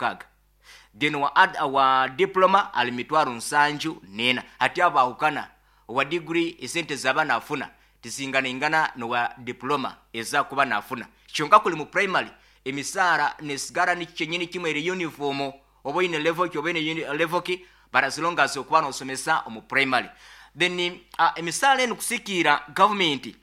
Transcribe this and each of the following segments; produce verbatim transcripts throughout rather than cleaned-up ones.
mukaaga. Then wa, ad, wa diploma ali mitwaro nsanju nena. Hati abo bahukana, owa degree esente zaba nafuna tizinganaingana nowa diploma eza kuba nafuna. Kyonka kuli mu primary emisaara nesigara ni kyenyini kimwe, eri uniform, oba oyine level ki, oba oyine level ki, but as long as okuba nosomesa omu primary. Then uh, emisaara enu kusikiira gavumenti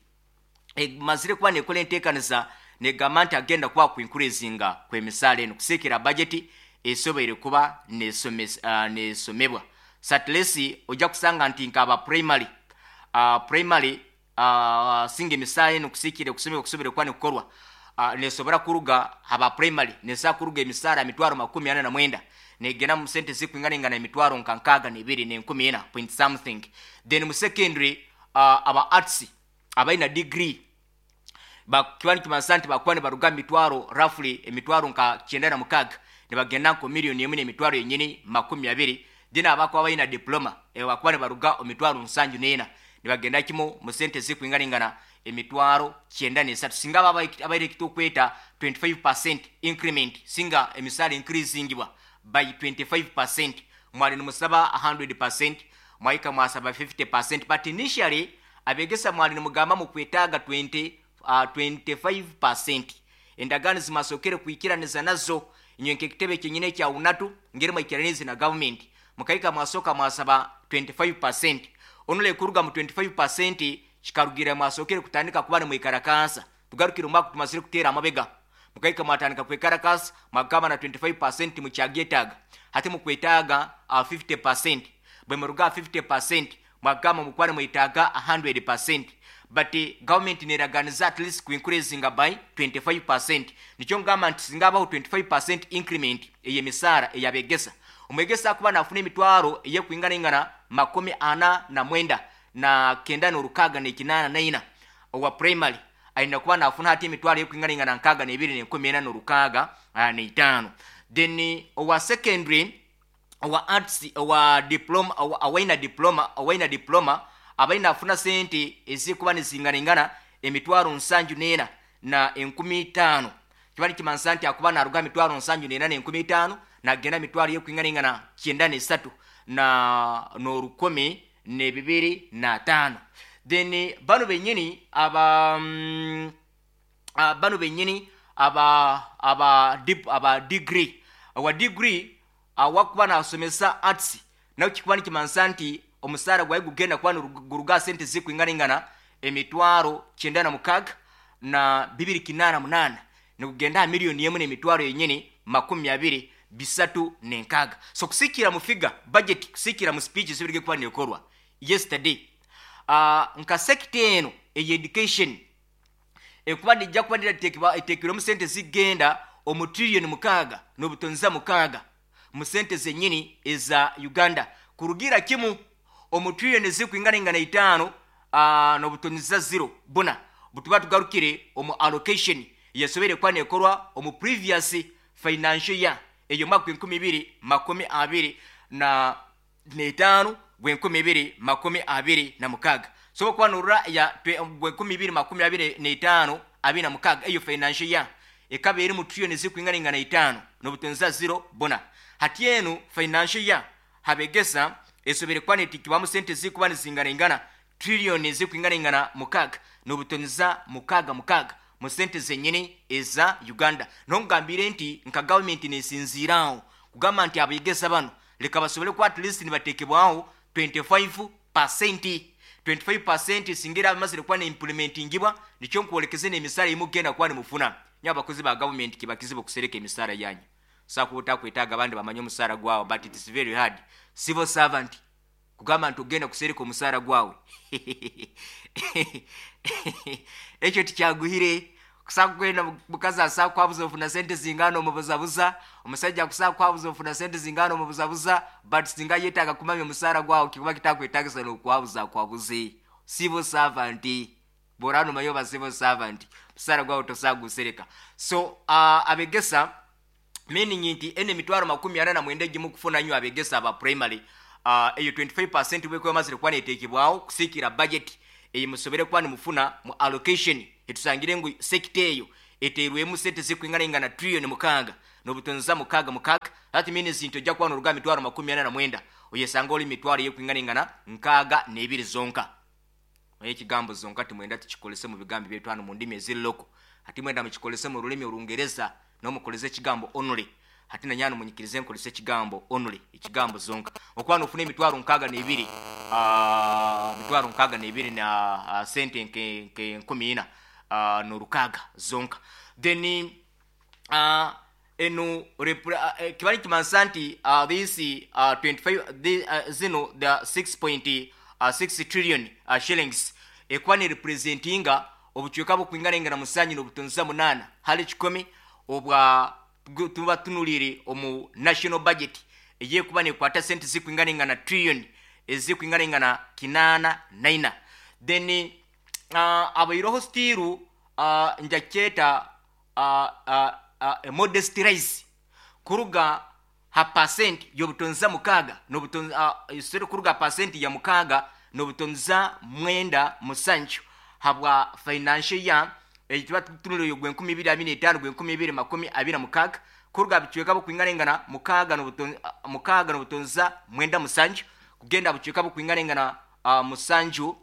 emazire kuba nekola enteekaniza, negamba nti agenda kuba kuincreasinga kwemisaala eno kusiikira budget esoboire kuba uh, nesomebwa. So at least ojja kusanga nti nkaba primary uh, primary uh, singa emisaala eno kusiikire kusomebwa kusobere kuba nekukorwa, uh, nesobora kuruga aba primary nesobola kuruga emisaala mitwaro makumi ana na mwenda negenda mu sente zikwinganingana emitwaro nka nkaaga nebiri nenkumi ena point something. Then mu secondary uh, aba arts abalina degree kiba nikimanyisa nti bakuba nibaruga mitwaro roughly emitwaro nka kyenda na mukaaga nibagenda nko miliyoni emu n'emitwaro yenyini makumi abiri. Then abakuba balina diploma e, bakuba nibaruga emitwaro nsanju n'ena nibagenda kimu mu sente zikwinganingana emitwaro kyenda n'esatu. Singa aba abaire ekitukweta twenty-five percent increment, singa emisaala increasingibwa by twenty-five percent, mwali nimusaba one hundred percent, mwahika mwasaba fifty percent, but initially abegesa mwali nimugamba mukwetaaga twenty, uh, twenty-five percent. Endagaano zimasokere kwikiraniza nazo inywe nk'ekitebe kyenyine ekya UNATU, ngeri mwikiranize na gavumenti, mukahika mwasoka mwasaba twenty-five percent. Onule kuruga mu twenty-five percent kikarugira mwasokere kutandika kuba nimwikarakasa. Tugarukire omwaka tumazire kuteera amabega, mukahika mwatandika kwekarakasa, mwagamba na twenty-five percent mukyagyeetaaga, hati mukwetaaga uh, fifty percent. Bwe muruga fifty percent mwagamba mukuba nimwetaaga one hundred percent, but government neraganiza at least kuincreasinga by twenty-five percent. Nikyo ngamba nti singa abaho twenty-five percent increment ey'emisaara eyabegesa, omwegesa akuba nafuna emitwaro eyekwinganaingana makumi ana na mwenda na kenda n'orukaaga n'ekinaana naina, owa primary ayina kuba nafuna hati emitwaro eyekwinganaingana nkaaga n'ebiri n'enkumi ena n'orukaaga n'etaano. Then owa secondary, owa arts, owa diploma, awaina diploma awaina diploma abaina afuna sente ezikuba nizinganaingana emitwaro nsanju n'ena na enkumi itaano. Kiba nikimanisa nti akuba naruga emitwaro nsanju n'ena n'enkumi itaano nagenda emitwaro yekwinganaingana kyenda n'esatu na n'orukumi n'ebibiri n'ataano. Then bano benyini aba mm, uh, bano benyini aba aba dip, aba degree, owa degree awakuba nasomesa arts, nawe kikuba nikimanisa nti omusaara gwawe gugenda kuba guruga sente zikwinganaingana emitwaro kyenda na mukaaga na bibiri kinaana munaana nikugenda aha miliyoni emu n'emitwaro yenyini makumi abiri bisatu nenkaaga. So kusikira mu figure budget, kusikira mu speech zibirige kuba nekorwa yesterday, uh, nka sector eno eye education ekuba nijja kuba eteekirwemu sente zigenda omu trillion mukaaga n'obutonza mukaaga mu sente zenyini eza Uganda, kurugira kimu omu trillion zikwinganaingana itaano uh, n'obutonza zero buna butuba tugarukire omu allocation yasobere kuba nekorwa omu previous financial year, eyo mwaka enkumi ibiri makumi abiri na n'etaano gwenkumi ibiri makumi abiri na mukaaga. So kuba norora ya gwenkumi ibiri makumi abiri n'etaano abiri na mukaaga, eyo financial year ekaba eri mu trillion zikwinganaingana itaano n'obutonza zero buna. Hati enu financial year habegesa esobere kuba netikibwamu sente zikuba nizinganaingana trillion zikwinganaingana mukaaga n'obutonza mukaaga mukaaga mu sente zenyini eza Uganda. Nongambire nti nka gavumenti nesinziiraawo kugamba nti abegesa bano leka basobole kuba at least nibatekebwaho twenty-five percent. twenty-five percent singira bamazire kuba neimplementingibwa, nikyo nkwolekeze n'emisaala emugenda kuba nimufuna. Nyo abakozi ba gavumenti kibakizibu okusereka emisaala yanyu, sakuba otakwetaaga abandi bamanye omusaala gwawe, but it is very hard civil servant kugamba nti ogenda kusereka omusaala gwawe. Ekyo tikyaguhire. Kusakugenda mukazi asaa kwabuza ofuna sente zingana, omubuzabuza. Omusajja akusaa kwabuza ofuna sente zingana, omubuzabuza. But singa yetaaga kumanya omusaala gwawe, kikuba kitakwetagisa nokwabuza akwabuze. Civil servant bw'oraba nomanya oba civil servant, omusaala gwawe tosagusereka. So uh, abegesa, meaning nti ene emitwaro makumi ana na mwenda egimu kufuna nyo abegesa aba primary, uh, eyo twenty-five percent bwekuba emazire kuba neteekebwaho kusiikira budget eyo musobere kuba nimufuna mu allocation, etusangire ngu sector eyo eteerwemu sente zikwinganaingana trillion mukaaga. n'obutonza mukaaga mukaaga. That means nti ojja kuba n'oruga mitwaro makumi ana na mwenda, oyesanga oli mitwaro yekwinganingana nkaaga n'ebiri zonka. Naye ekigambo zonka timwenda tukikolese mu bigambo byaitu hano mu ndimi eziri local. Ati mwenda mukikolese mu rulimi Orungereza, nomukolese ekigambo only. Ati nanyano munyikirize nkolese ekigambo only, ekigambo zonka. Okuba nofuna emitwaro nkaaga n'ebiri, uh, mitwaro nkaaga n'ebiri na uh, sente nke, nke nkumi ina uh, n'orukaaga zonka. Then uh, eno repre- uh, kibali kimansa nti uh, this uh, twenty-five the, uh, zino the six point six trillion uh, shillings ekuba ne representinga obucweka bukwinganengana musanju n'obutonza munaana hali kikumi obwa tuba tunulire omu national budget eyekuba nekwata sente zikwinganengana trillion ezikwinganengana kinaana naina. Then uh, abairoho still uh, njakyeta uh, uh, uh, modest rise kuruga ha percent y'obutonza mukaaga n'obutonza uh, sorry, kuruga percent ya mukaaga n'obutonza mwenda musanju habwa financial year ekituba tutunulire gwenkumi ibiri abiri n'etaano gwenkumi ibiri makumi abiri na mukaaga, kuruga bicweka bukwinganengana mukaaga n'obuton- uh, mukaaga n'obutonza mwenda musanju kugenda bucweka bukwinganengana uh, musanju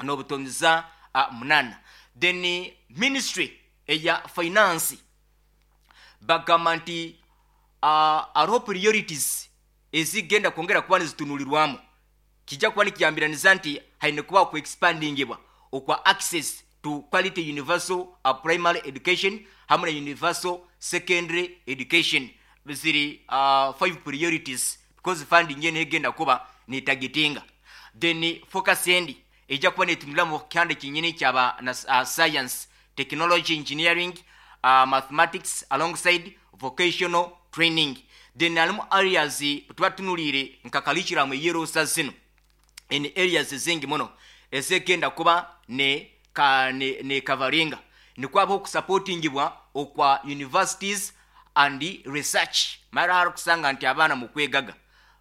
n'obutonza uh, munana. Then ministry eya finance bagamba nti uh, hariho priorities ezigenda kwongera kuba nizitunulirwamu. Kijja kuba nikiyambiraniza nti haine kuba okuexpandingibwa okwa access to quality universal uh, primary education hamwe na universal secondary education. Ziri uh, five priorities because funding yene egenda kuba netargetinga. Then focus endi ejja kuba netunula mu kyanda kinyini kyaba na uh, science, technology, engineering, uh, mathematics alongside vocational training. Then alimu areas tuba tunulire nka curriculum eyerosa zino in areas ezingi muno ezegenda kuba ne ka ne, ne coveringa nikwabaho okusupportingibwa okwa universities and research. Mara hari kusanga nti abaana mukwegaga,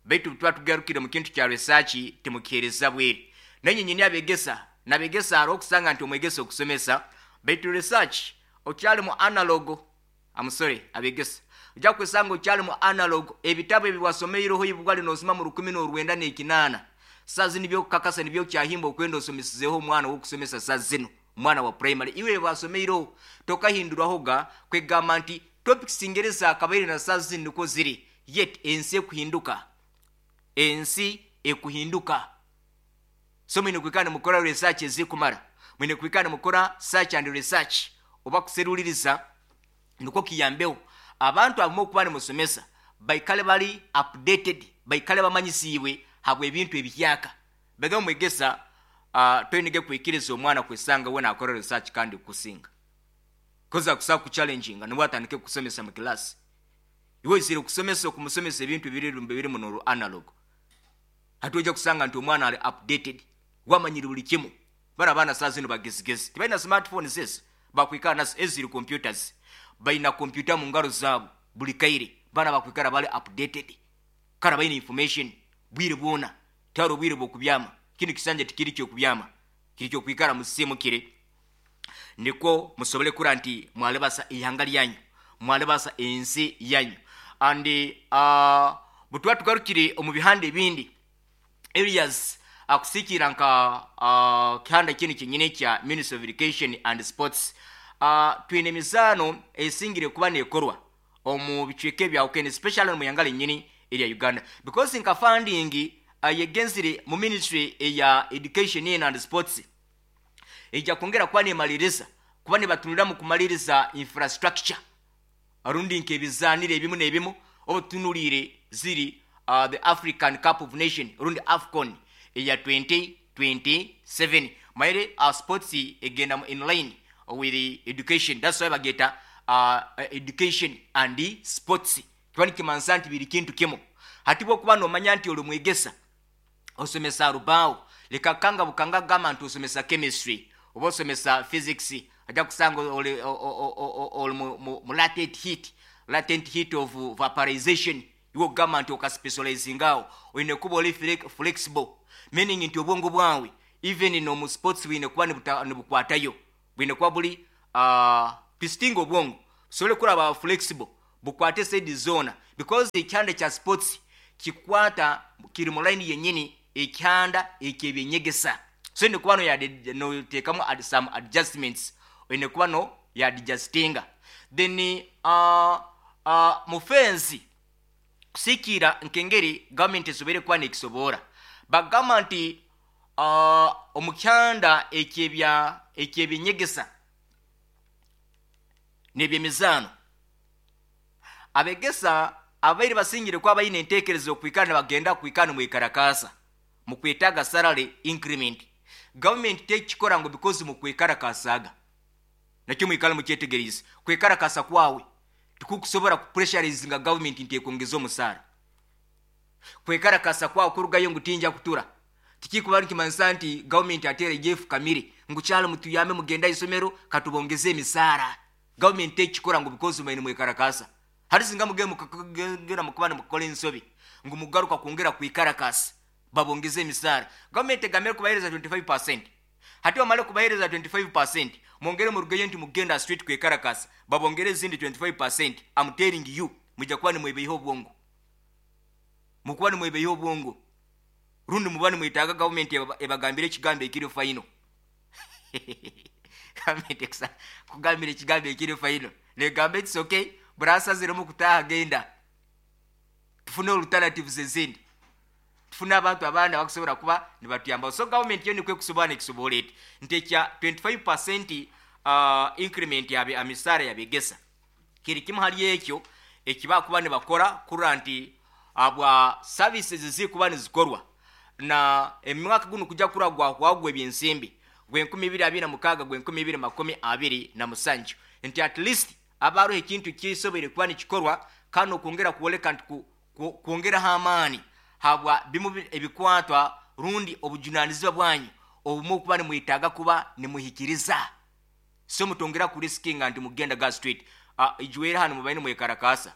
baitu tuba tugarukire mu kintu kya research timukihereza bweri. Nenye nyini abegesa nabegesa, hariho okusanga nti omwegesa okusomesa, baitu research okyali mu analog. I'm sorry abegesa, ojja kwesanga okyali mu analog. Ebitabo ebi wasomeireho ibwali nosoma mu rukumi n'orwenda n'ekinaana, saa zino byokukakasa nibyo kyahimba okwenda osomesizeho omwana wokusomesa saa zino, omwana wa primary. Iwe wasomeireho tokahinduraho ga kwegamba nti topics ngereza akabaire na saa zino niko ziri. Yet ensi ekuhinduka, ensi ekuhinduka. So mwine kwikana nimukora research ezikumara, mwine kwikana nimukora search and research oba kuseruliriza, nikwo kiyambeho abantu abamu okuba nimusomesa baikale bali updated, baikale bamanyisiibwe habwa ebintu ebihyaka. Bega omwegesa uh, toyinige kwikiriza omwana kwesanga we nakora research kandi kusinga koza kusa kuchallenginga nibwo atandike kusomesa mu class. Iwe izire kusomesa okumusomesa ebintu biri biri muno analog. Hati ojja kusanga nti omwana ali updated, wamanyire buli kimu. Bana abaana saa zino bagezigezi, tebalina smartphones ezo bakwikara nazo, eziri computers, balina computer mu ngaro zaabo buli kaire. Baana bakwikara bali updated, kara balina information bwire bwona. Tihariho obwire bw'okubyama. Kinu kisanja tikiri kyokubyama, kiri kyokwikara musisimukire, nikwo musobole kura nti mwalebasa ihanga lyanyu, mwalebasa ensi yanyu. And uh, bwetuba tugarukire omu bihanda ebindi areas, akusikira nka uh, kihanda kinu kyenyini kya Ministry of Education and Sports, uh, twine emizaano esingire kuba nekorwa omu bicweka ebyawukene, especially mu yanga lenyini erya Uganda, because nka funding uh, yegenzire mu ministry eya education and sports ejja kwongera kuba nemaliriza kuba nibatunulira mu kumaliriza infrastructure rundi nk'ebizaaniro ebimu n'ebimu. Oba tutunuliire ziri uh, the African Cup of Nation rundi AFCON eya twenty twenty-seven. Maire uh, sports egenda mu in line with the education. That's why bageta uh, education and sports. Kiba nikimansa nti biri kintu kimu. Hati bwokuba nomanya nti oli mwegesa osomesa rubaawo, leka kanga bukanga gamba nti osomesa chemistry oba osomesa physics, ajja kusanga oli, oli mu, mu, mu latent heat latent heat of vaporization. Iwe okugamba nti okaspecializingawo, oyine kuba oli flexible, meaning nti obwongo bwawe even nomu sports bwine kuba nibukwatayo, bwine kuba buli uh, twisting obwongo busobole kuraba flexible. Bukwate side zoona, because ekyanda kya sports kikwata kiri mu line yennyini ekyanda ekyebyenyegesa. So ine kuba noteekamu some adjustments, oyine kuba no yadjustinga. Then uh, uh, mu fensi kusikiira nkengeri gavumenti esobere kuba nekisoboora, bagamba nti uh, omukyanda ekyebya ekyebyenyegesa nebyemizaano, abegesa abaire basingire kuba bayina enteekereza okwikara nibagenda kwikara nimwekarakasa mukwetaaga salary increment, gavumenti tekikora ngu because mukwekarakasaaga. Nakyo mwikale mukyetegereze, kwekarakasa kwawe tikukusobora kupressurizinga gavumenti nti ekwongeza omusaara. Kwekarakasa kwawe kurugayo ngu tinja kutura, tikikuba nikimanyisa nti gavumenti ateera ejefukamire ngu kyalo mutuyambe, mugenda isomero katubongeze emisaara. Gavumenti tekikora ngu because maine mwekarakasa. Hari singa mugenda mukagenda mukuba nimukora ensobi ngu mugaruka kwongera kwikarakasa babongeze emisaara, gavumenti egamire kubahereza twenty-five percent. Hati bamale kubahereza twenty-five percent, mwongere murugeyo nti mugenda street kwekarakasa babongere ezindi twenty-five percent. I'm telling you, mujja kuba nimwebeyeho obwongo, mukuba nimwebeyeho obwongo, rundi muba nimwetaaga gavumenti ebagambire ekigambo ekiri final. Gavumenti kugambira ekigambo ekiri final, negamba, "It's okay, burasaziremu kutaaha, genda tufune alternatives ezindi, tufune abantu abandi abakusobola kuba nibatuyamba." So gavumenti yo nikwe kusobola nekisobola eti nti ekya twenty-five percent uh, increment yabe amisaara yabegesa kiri kimu hali ekyo ekibakuba nibakora kurora nti abwa services zikuba nizikorwa. Na emwaka guno kujja kura gwahwagwa ebyensimbi gwenkumi ibiri abiri na mukaaga gwenkumi ibiri makumi abiri na musanju, nti at least abaroho ekintu kisoboire kuba nikikorwa kandi okwongera kwoleka nti kwongeraho amaani habwa bimu ebikwatwa rundi obujunanizibwa bwanyu obumu okuba nimwetaaga kuba nimuhikiriza. So mutongera kuriskinga nti mugenda ga street. uh, ijwere hano mubaine mwekarakasa,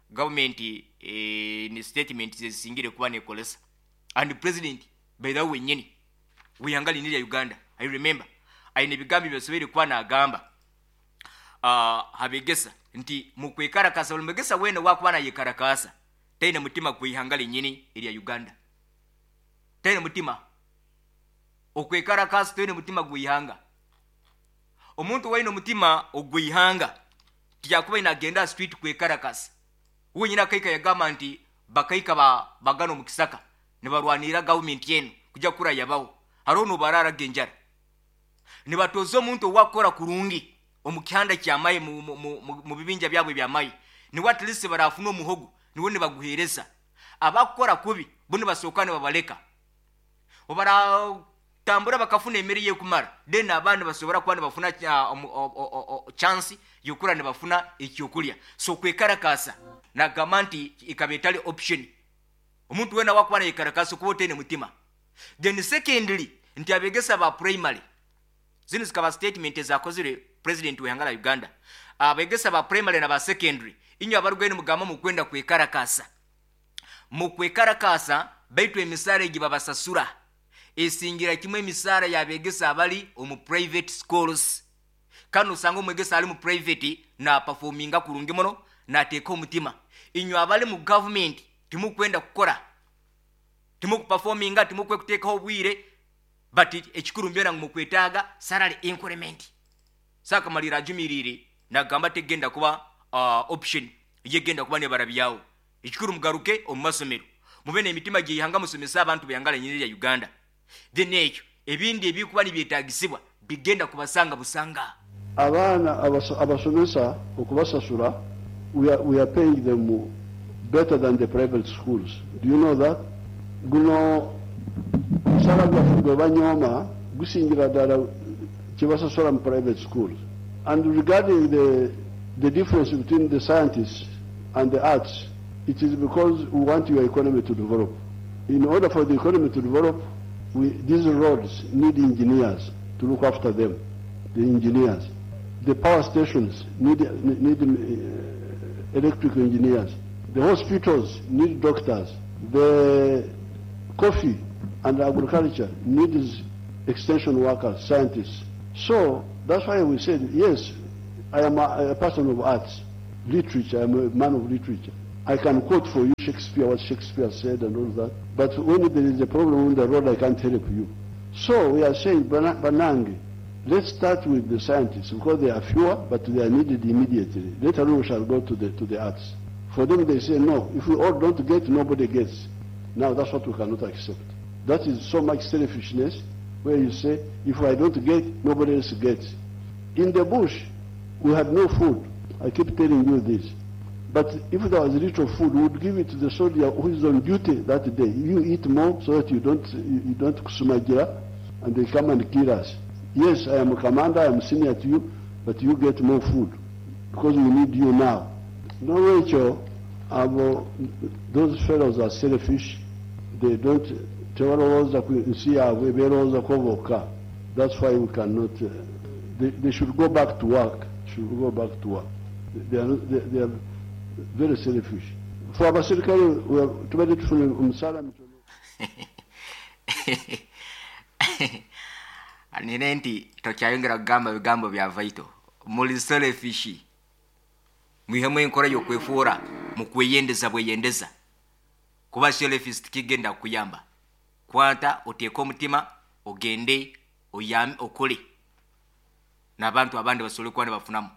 gavumenti eh, ni statement zezisingire kuba nekolesa. And president, by the way, wenyini wihanga lini lya Uganda, I remember aine ebigambo byosoboire kuba nagamba uh, habegesa nti mukwekarakasa, buli mwegesa wene wakuba nayekarakasa taina mutima kwihanga linyini erya Uganda, taina mutima okwekarakasa, taina mutima gwihanga. Omuntu waine omutima ogwihanga tiyakuba inagenda street kwekarakasa. Wenyine akaika yagamba nti bakaika ba, bagano mu kisaka nibarwanira gavumenti enu kujja kura yabaho, hariho nobararaga enjara, nibatoza omuntu owakukora kurungi omu kihanda kyamaye mu, mu, mu, mu bibinja byabwe byamaye, niwe at least barafuna omuhogo, niwe nibaguhereza. Abakukora kubi bo nibasooka nibabaleka, obaratambura bakafuna emere yekumara, then abandi basobora kuba nibafuna uh, chance yokura nibafuna ekyokulya. So kwekarakasa nagamba nti ikaba etali option. Omuntu wena wakuba nayekarakasa okuba otaine mutima. Then secondly, nti abegesa ba primary, zino zikaba statement ezakozire president wehanga la Uganda, abegesa ba primary na ba secondary, inywe abarugwaine mugamba mukwenda kwekarakasa, mukwekarakasa, baitu emisaara egi babasasura esingira kimwe emisaara yabegesa abali omu private schools. Kandi osanga omwegesa ali mu private naperforminga kurungi muno, nateeka omutima. Inywe abali mu government timukwenda kukora, timukuperforminga, timukwe kuteekaho obwire, but ekikuru mbyona ngu mukwetaaga salary increment. Sakamalira ajumirire nagamba tegenda kuba uh, option yegenda kuba nebarabyawo. Ekikuru mugaruke omu masomero, mube n'emitima gyihanga, musomese abantu beyangala nyini lya Uganda. Then ekyo ebindi ebikuba nibyetagisibwa bigenda kubasanga busanga. Abaana abasomesa okubasasula, we are, we are paying them better than the private schools. Do you know that? Guno omusala gwaffe gwe banyooma gusingira ddala kyebasasula mu private schools. And regarding the, the difference between the scientists and the arts, it is because we want your economy to develop. In order for the economy to develop, we, these roads need engineers to look after them, the engineers. The power stations need, need uh, electrical engineers. The hospitals need doctors. The coffee and agriculture needs extension workers, scientists. So that's why we said, yes, I am a, a person of arts. literature. I'm a man of literature. I can quote for you Shakespeare, what Shakespeare said and all that. But when there is a problem on the road, I can't help you. So we are saying, Banange, let's start with the scientists because they are fewer, but they are needed immediately. Later on, we shall go to the, to the arts. For them, they say, no, if we all don't get, nobody gets. Now, that's what we cannot accept. That is so much selfishness where you say, if I don't get, nobody else gets. In the bush, we had no food. I keep telling you this. But if there was little food, we would give it to the soldier who is on duty that day. You eat more so that you don't, you don't kusumagira, and they come and kill us. Yes, I am a commander, I am senior to you, but you get more food because we need you now. No, Rachel, those fellows are selfish. They don't. That's why we cannot. Uh, they, they should go back to work. Should go back to work. They are, they, they are very selfish. For abasirikale tubadde tufuna omusaala mitono. Nine nti tokyayongera kugamba bigambo bya vaito. Muli selfish. Mwihemu enkora y'okwefuura mu kweyendeza bweyendeza. Kuba selfish tikigenda kuyamba. Kwata oteeke omutima ogende oyame okole. N'abantu abandi basobole kuba ne bafunamu.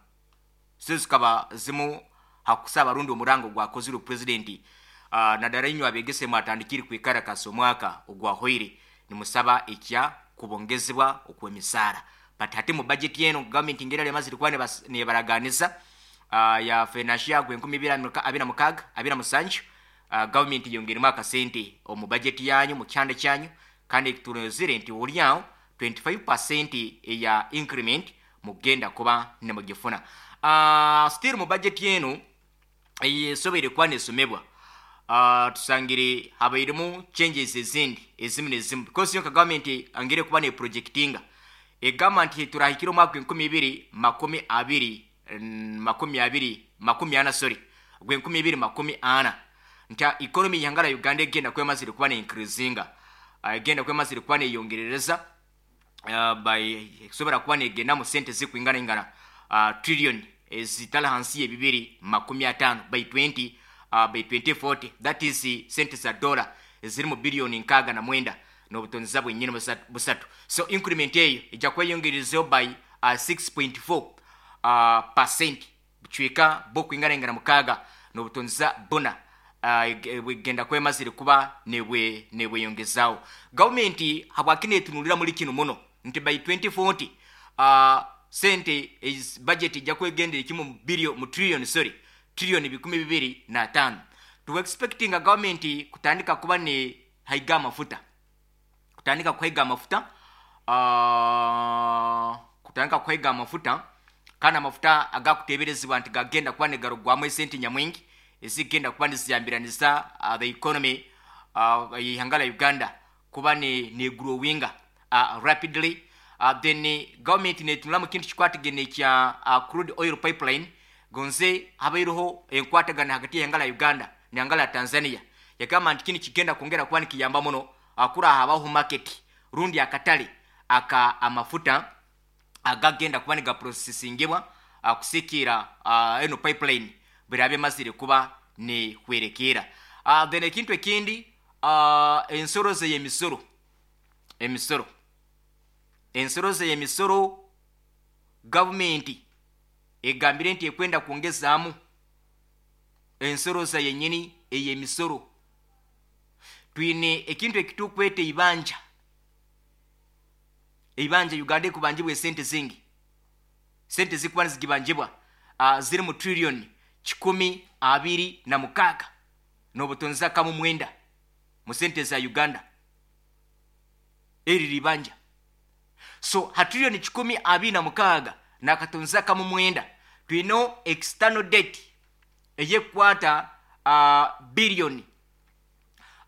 Zikaba zimu hakusaba rundi omurango gwakozire president uh, naddala inywe abegese mwatandikire kwikarakasa omwaka ogwahoire nimusaba ekya kubongezebwa okw'emisaara. But hati mu budget eno government ngera lemazire kuba nebaraganiza uh, ya financial year gwenkumi bibiri abiri na mukaaga abiri na musanju uh, government yongeremu akasente omu budget yanyu mu kyanda kyanyu, kandi tunozire nti oliawo twenty-five percent eya increment mugenda kuba nemugifuna. Uh, still mu budget yenu esobere kuba nesomebwa uh, tusangire habairemu changes ezindi ezimu nezimu because yo government angere kuba ne projectinga egamba nti turahikira omwaka enkumi ibiri makumi abiri makumi abiri makumi ana sorry gwe enkumi ibiri makumi ana nti economy yangala Uganda egenda kwemazire kuba ne increasinga egenda uh, kwemazire kuba neyongerereza uh, by sobera kuba negenda mu sente zikuingana ingana uh, trillion ezitala hansi ebibiri makumi atano by twenty uh, by twenty forty, that is sente za dollar eziri mu billion nkaga na mwenda n'obutonzi bwennyini busatu. So increment eyo ejja kweyongerezayo by uh, six point four uh, percent bucweka bokwingana ingana mukaaga n'obutonzi buna uh, bwegenda kwemazire kuba nebwe nebweyongezaawo. Gavumenti habwaki netunulira muri kino muno nti by twenty forty uh, sente is budget ejja kwegendera kimu billion mu trillion sorry trillion bikumi bibiri na tano. Tu expecting a government kutandika kuba ne haiga amafuta kutandika kuhaiga amafuta uh, kutandika kuhaiga amafuta kana amafuta agakuteberezebwa nti gagenda kuba ne garugwamu esente nyamwingi ezigenda kuba niziyambiraniza uh, the economy uh, ihanga la Uganda kuba ne ne growinga uh, rapidly. Uh, then government netunula mu kintu kikwatagene kya uh, crude oil pipeline gonze habairoho enkwatagana hagati y'ihanga la Uganda n'ihanga la Tanzania. Yagamba nti kino kigenda kwongera kuba nikiyamba muno akura habaho market rundi akatale aka amafuta agagenda kuba nigaprocessingibwa akusikira uh, eno pipeline birabe mazire kuba ne hwerekera. Uh, then ekintu ekindi uh, ensoro ze emisoro emisoro ensoro ze emisoro government egambire nti ekwenda kuongezaamu ensoro za yenyini eyemisoro. Twine ekintu ekitukwete ibanja ibanja Uganda kubanjibwa sente zingi sente zikuba zigibanjibwa uh, ziri mu trillion kikumi abiri na mukaaga n'obutonzi kamu mwenda mu sente za Uganda eri libanja. So ha trillion kikumi abiri na mukaaga n'akatonzi kamu mwenda twino external debt eyekwata uh, billion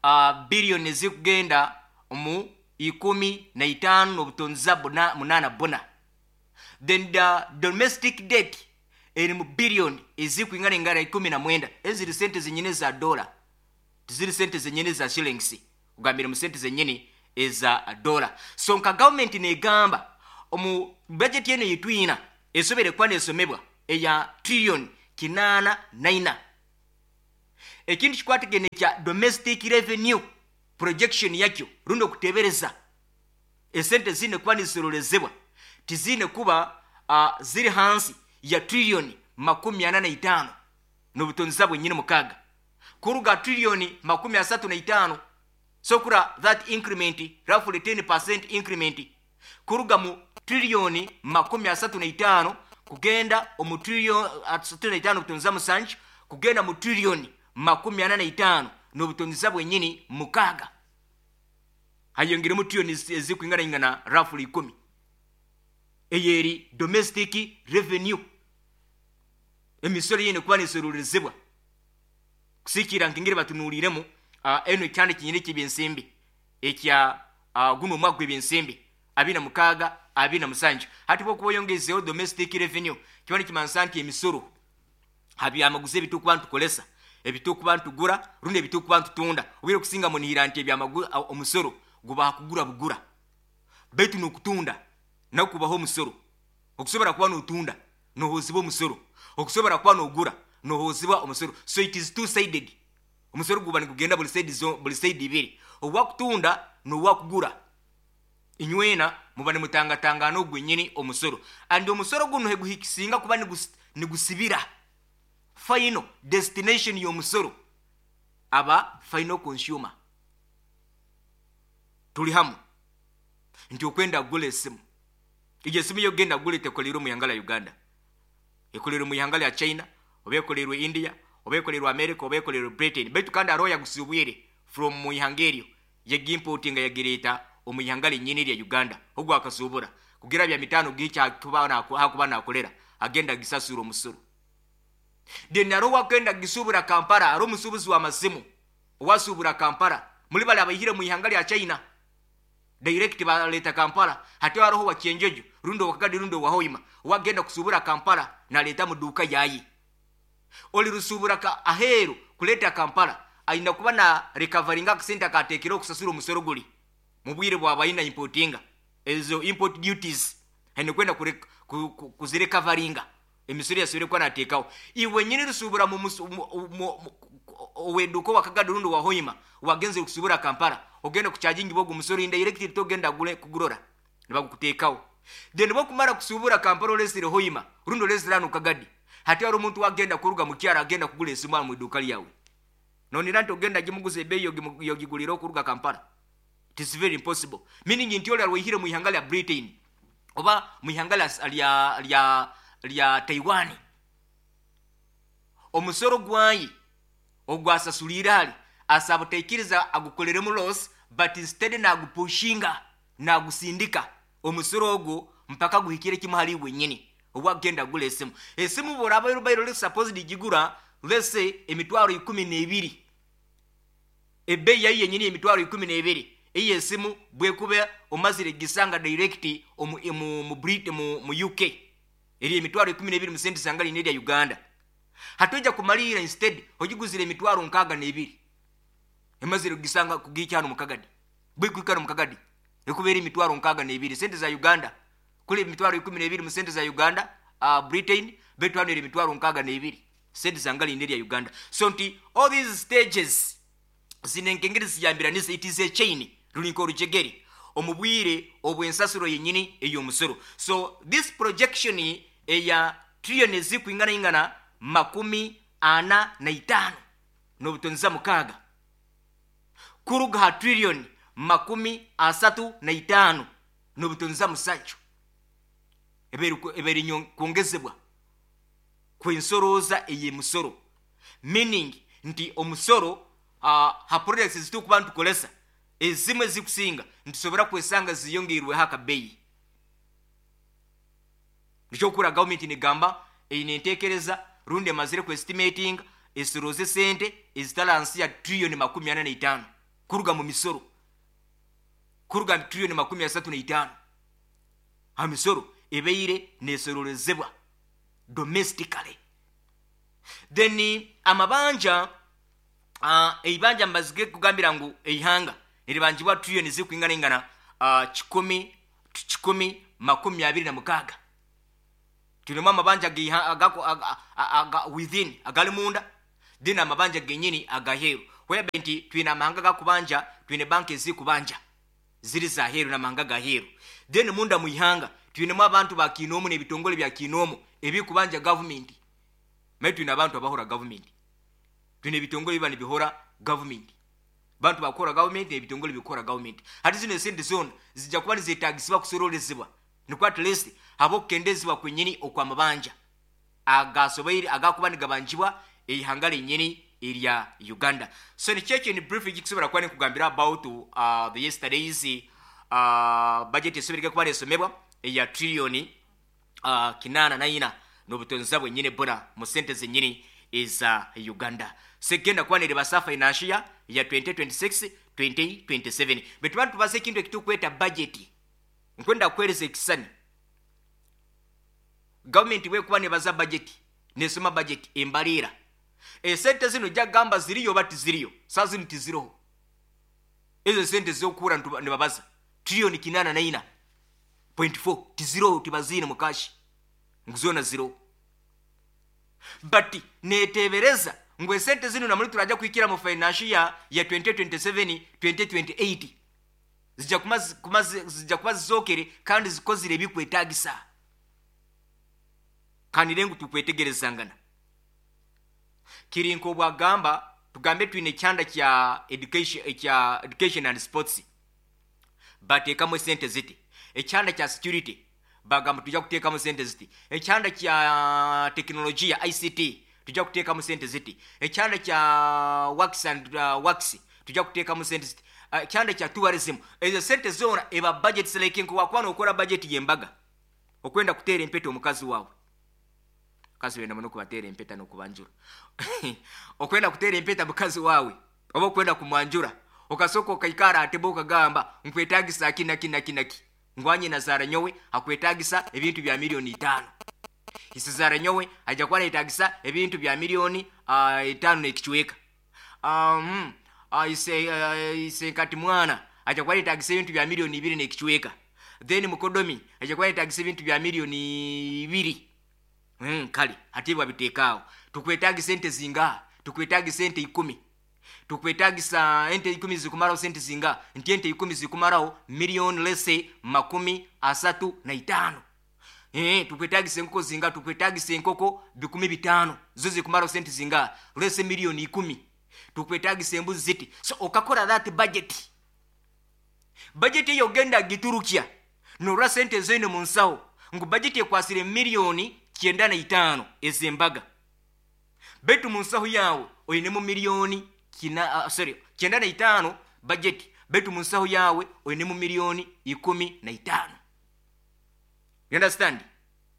uh, billion zikugenda mu ikumi na itano n'obutonzi munana bona. Then the domestic debt eri mu billion ezikuingana ingana ikumi na mwenda. Eziri sente zenyine za dola, tiziri sente zenyine za shillings, kugambira mu sente zenyine eza dola. So nka government negamba omu budget yene yitwina esobere kwa nesomebwa eya trillion kinaana naina. Ekintu kikwatagene kya domestic revenue projection yakyo rundi okutebereza esente zine kuba nizisorolezebwa tizine kuba uh, ziri hansi ya trillioni makumi ana na itaano n'obutonzi bwenyini mukaaga kuruga trillioni makumi asatu na itaano. So kura that increment roughly ten percent increment kuruga mu trillioni makumi asatu na itaano kugenda omu trillioni asatu na itaano butonzi musanju kugenda mu trillioni makumi ana na itaano n'obutonzi bwenyini mukaaga, hayongeremu trillioni ezikwinganaingana roughly ikumi. Eyo eri domestic revenue, emisoro yine kuba nisorolezebwa kusikira nkengeri batunuuliremu uh, eno ekyanda kinyini kyebyensimbi ekya uh, guno omwaka gw'ebyensimbi abiri na mukaaga abiri na musanju. Hati bwokuba oyongezeho domestic revenue, kiba nikimanisa nti emisoro habyamaguzi ebitukuba ntukolesa, ebitukuba ntugura rundi ebitukuba ntutunda. Obwire kusinga munihira nti ebyamagu omusoro guba kugura bugura, baitu nokutunda nakubaho omusoro. Okusobora kuba notunda nohozibwa omusoro, okusobora kuba nogura nohozibwa omusoro. So it is two sided. Omusoro guba nigugenda buli side zo, buli side ibiri, owakutunda nowakugura, inywena muba nimutangatangana ogwenyini omusoro. And omusoro guno heguhikisinga kuba nigus, nigusibira final destination y'omusoro aba final consumer. Tuli hamu nti okwenda kugula esimu, egyo esimu yogenda kugula tekolerwe mu ihanga lya Uganda, ekolerwe mu ihanga lya China, oba ekolerwe India, oba ekolerwe America, oba ekolerwe Britain. Baitu kandi hariho yagusubwire from mu ihanga eryo, yagimportinga yagireeta omu ihanga lyenyini lya Uganda. Ogwo akasubura kugira bya mitano gicha hakuba nakolera agenda gisasura omusoro. Then hariho wakenda gisubura Kampala, hariho omusubuzi w'amasimu owasubura Kampala muri bali abaihire mu ihanga lya China direct baleta Kampala. Hati hariho wa Kyenjojo rundi wakagadi rundi wa Hoima wagenda kusubura Kampala naleta mu duka yayi. Oli rusubura ka aheru kuleta Kampala ayina kuba na recoveringa akasente akatekera okusasura omusoro guli mu bwire bwabayina importinga. Ezo import duties ayina kwenda kuzirecoveringa, emisoro yasubire kuba nateekawo. Iwe nyini rusubura mu oweduka wakagadi rundi wa Hoima wagenze kusubura Kampala, ogenda kucharginga bogo omusoro indirect, togenda gule kugurora nibagukuteekawo. Then bokumara kusubura Kampala olesire Hoima rundi olesire hano Kagadi, hati hari omuntu wagenda kuruga mu kyaro agenda kugula esimu mu iduka lyawe, nonira nti ogenda gimuguza ebeeyi yogigulira okuruga Kampala. It is very impossible, meaning nti oli alwaihire mu ihanga lya Britain oba mu ihanga lya, lya, lya Taiwan, omusoro gwayi ogwasasulire hali asaba taikiriza agukoleremu loss, but instead nagupushinga nagusindika omusoro ogwo mpaka guhikire kimu hali wenyini obwagenda gula esimu. Esimu boraba rubairo li supposed gigura, let's say, emitwaro ikumi n'ebiri, ebbeeyi yayo yenyini emitwaro ikumi n'ebiri, eyo esimu bwekuba omazire gisanga direct omu, mu, mu, Brit, mu, mu U K eri emitwaro ikumi n'ebiri mu sente zanga lina erya Uganda. Hati kumalira instead ogiguzire emitwaro nkaaga n'ebiri, emazire kugisanga kugikyano mukagadi, bwikuikano mukagadi ekubeera emitwaro nkaaga n'ebiri sente za Uganda, kuli emitwaro ikumi n'ebiri mu sente za Uganda, uh, Britain betwanira emitwaro nkaaga n'ebiri sente zanga lina erya Uganda. So nti all these stages zino enkengeri ziyambiranisa, it is a chain, rulinka olujegere omu bwire obw'ensasuro yennyini ey'omusoro. So this projection eya trillion ezikwinganaingana makumi ana na itaano n'obutonzi mukaaga kuruga ha trillion makumi asatu na itaano n'obutonzi musanju ebeere kwongezebwa kw'ensorooza ey'emisoro, meaning nti omusoro uh, ha products ezitukuba ntukolesa ezimu ezikusinga ntusobora kwesanga ziyongeirweho akabeeyi. Nikyokura gavumenti negamba eine enteekereza rundi emazire ku estimating esoroze sente ezitali hansi ya trillion makumi ana na itaano kuruga mu misoro, kuruga mu trillion makumi asatu na itaano ha misoro ebeire nesorolezebwa domestically. Then amabanja, uh, eibanja mbazige kugambira ngu eihanga niribanjibwa trillion zikuingana uh, kikumi kikumi makumi abiri na mukaaga. Twinemu amabanja gaiha- agako- aga- aga- within, agali munda, then amabanja genyini agaheeru, whereby nti twine amahanga gakubanja, twine banki ezikubanja ziri zaheeru namahanga gaheeru. Then munda muihanga twinemu abantu bakiinoomu n'ebitongole bya kiinoomu ebikubanja gavumenti. Maye twine abantu abahora gavumenti, twine ebitongole biba nibihora gavumenti, bantu bakora gavumenti n'ebitongole bikora gavumenti. Hati zino esente zona zijja kuba nizetagisibwa kusorolezebwa, nikwo at least habe okukendezebwa kwenyini okwamabanja agasoboire agakuba nigabanjibwa eihanga lenyini erya Uganda. So nikyo ekyo ni brief ekikusobola kuba nikugambira about uh, the yesterday's uh, budget esoboire kuba nesomebwa eya trillion uh, kinana naina n'obutonza bwenyini buna mu sente zenyini eza Uganda. Segenda kuba nerebasa financial year ya twenty twenty-six twenty twenty-seven. Betuba tubaza ekintu ekitukweta budget, nkwenda kuhereza ekisani. Gavumenti bwekuba nebaza budget, nesoma budget, embaliira esente zino jagamba ziriyo oba tiziriyo. Saa zino tiziroho ezo sente zokuhura nibabaza trillion kinana naina point four, tiziroho, tibaziine mu cash ngu zona ziroho. But netebereza ngu esente zino namuli turaja kuhikira mu financial year ya twenty twenty-seven twenty twenty-eight zijja kuma kuma zijja kuba zizokere kandi zikozire ebikwetagisa. Kandi rengu tukwetegerezangana kiri nk'obwagamba, tugambe twine ekyanda kya education, ekya education and sports, bateekamu esente ziti. Ekyanda kya security bagamba tujja kuteekamu sente ziti. Ekyanda kya tekinologiya, I C T, tujja kuteekamu sente ziti. Ekyanda kya works and uh, works tujja kuteekamu sente ziti. Uh, ekyanda kya tourism, ezo sente zona eba budget. Like nkuwakuba nokora budget yembaga, okwenda kuteera empeta omukazi waawe, mukazi wenda muno kubateera empeta nokubanjura, okwenda kuteera empeta mukazi waawe oba okwenda kumwanjura, okasooka okaikara atebe okagamba nkwetagisa ki naki naki naki, ngwanye nazaara nyowe akwetagisa ebintu bya miliyoni itaano, isizaara nyowe ajja kuba nayetagisa ebintu bya miliyoni uh, etaano n'ekicweka, um, uh, ise, uh, ise nkati mwana ajja kuba nayetagisa ebintu bya miliyoni ibiri n'ekicweka, then mukodomi ajja kuba nayetagisa ebintu bya miliyoni ibiri. mm, kale ate bwabiteekaawo, tukwetagisa ente zinga? Tukwetagisa ente ikumi. Tukwetagisa ente ikumi zikumarawo sente zinga? Nti ente ikumi zikumarawo miliyoni lese makumi asatu na itaano. Eh, tukwetagisa enkoko zinga? Tukwetagisa enkoko bikumi bitaano, zo zikumarawo sente zinga? Lese miliyoni ikumi. Tukwetagisa embuzi ziti. So okakora that budget budget eyo ogenda giturukya norwa sente zoine mu nsawo ngu budget ekwasire miliyoni kyenda na itaano ezembaga, betu mu nsaho yawe oinemu miliyoni kina, uh, sorry, kyenda na itaano budget, betu mu nsaho yawe oinemu miliyoni ikumi na itaano. You understand?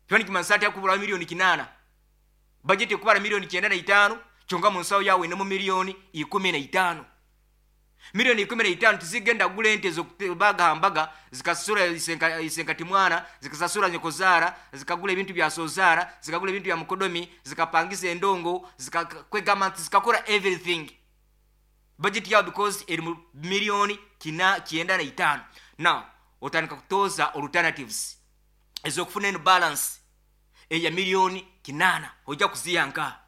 Kyoni kimansa ati akubura miliyoni kinana. Budget ekubara miliyoni kyenda na itaano, kyonka mu nsaho yawe oinemu miliyoni ikumi na itaano. Miliyoni ikumi na itaano tizigenda kugula ente zokubaga mbaga, zikasasura isenka, isenkati mwana, zikasasura nyokozaara, zikagula ebintu bya sozaara, zikagula ebintu bya mukodomi, zikapangisa endongo, zikakwegamba nti zikakora everything. Budget yawe because eri mu miliyoni kina kyenda na itaano. Now otandika kutoza alternatives ezokufuna eno balance eya miliyoni kinana, ojja kuziyanka.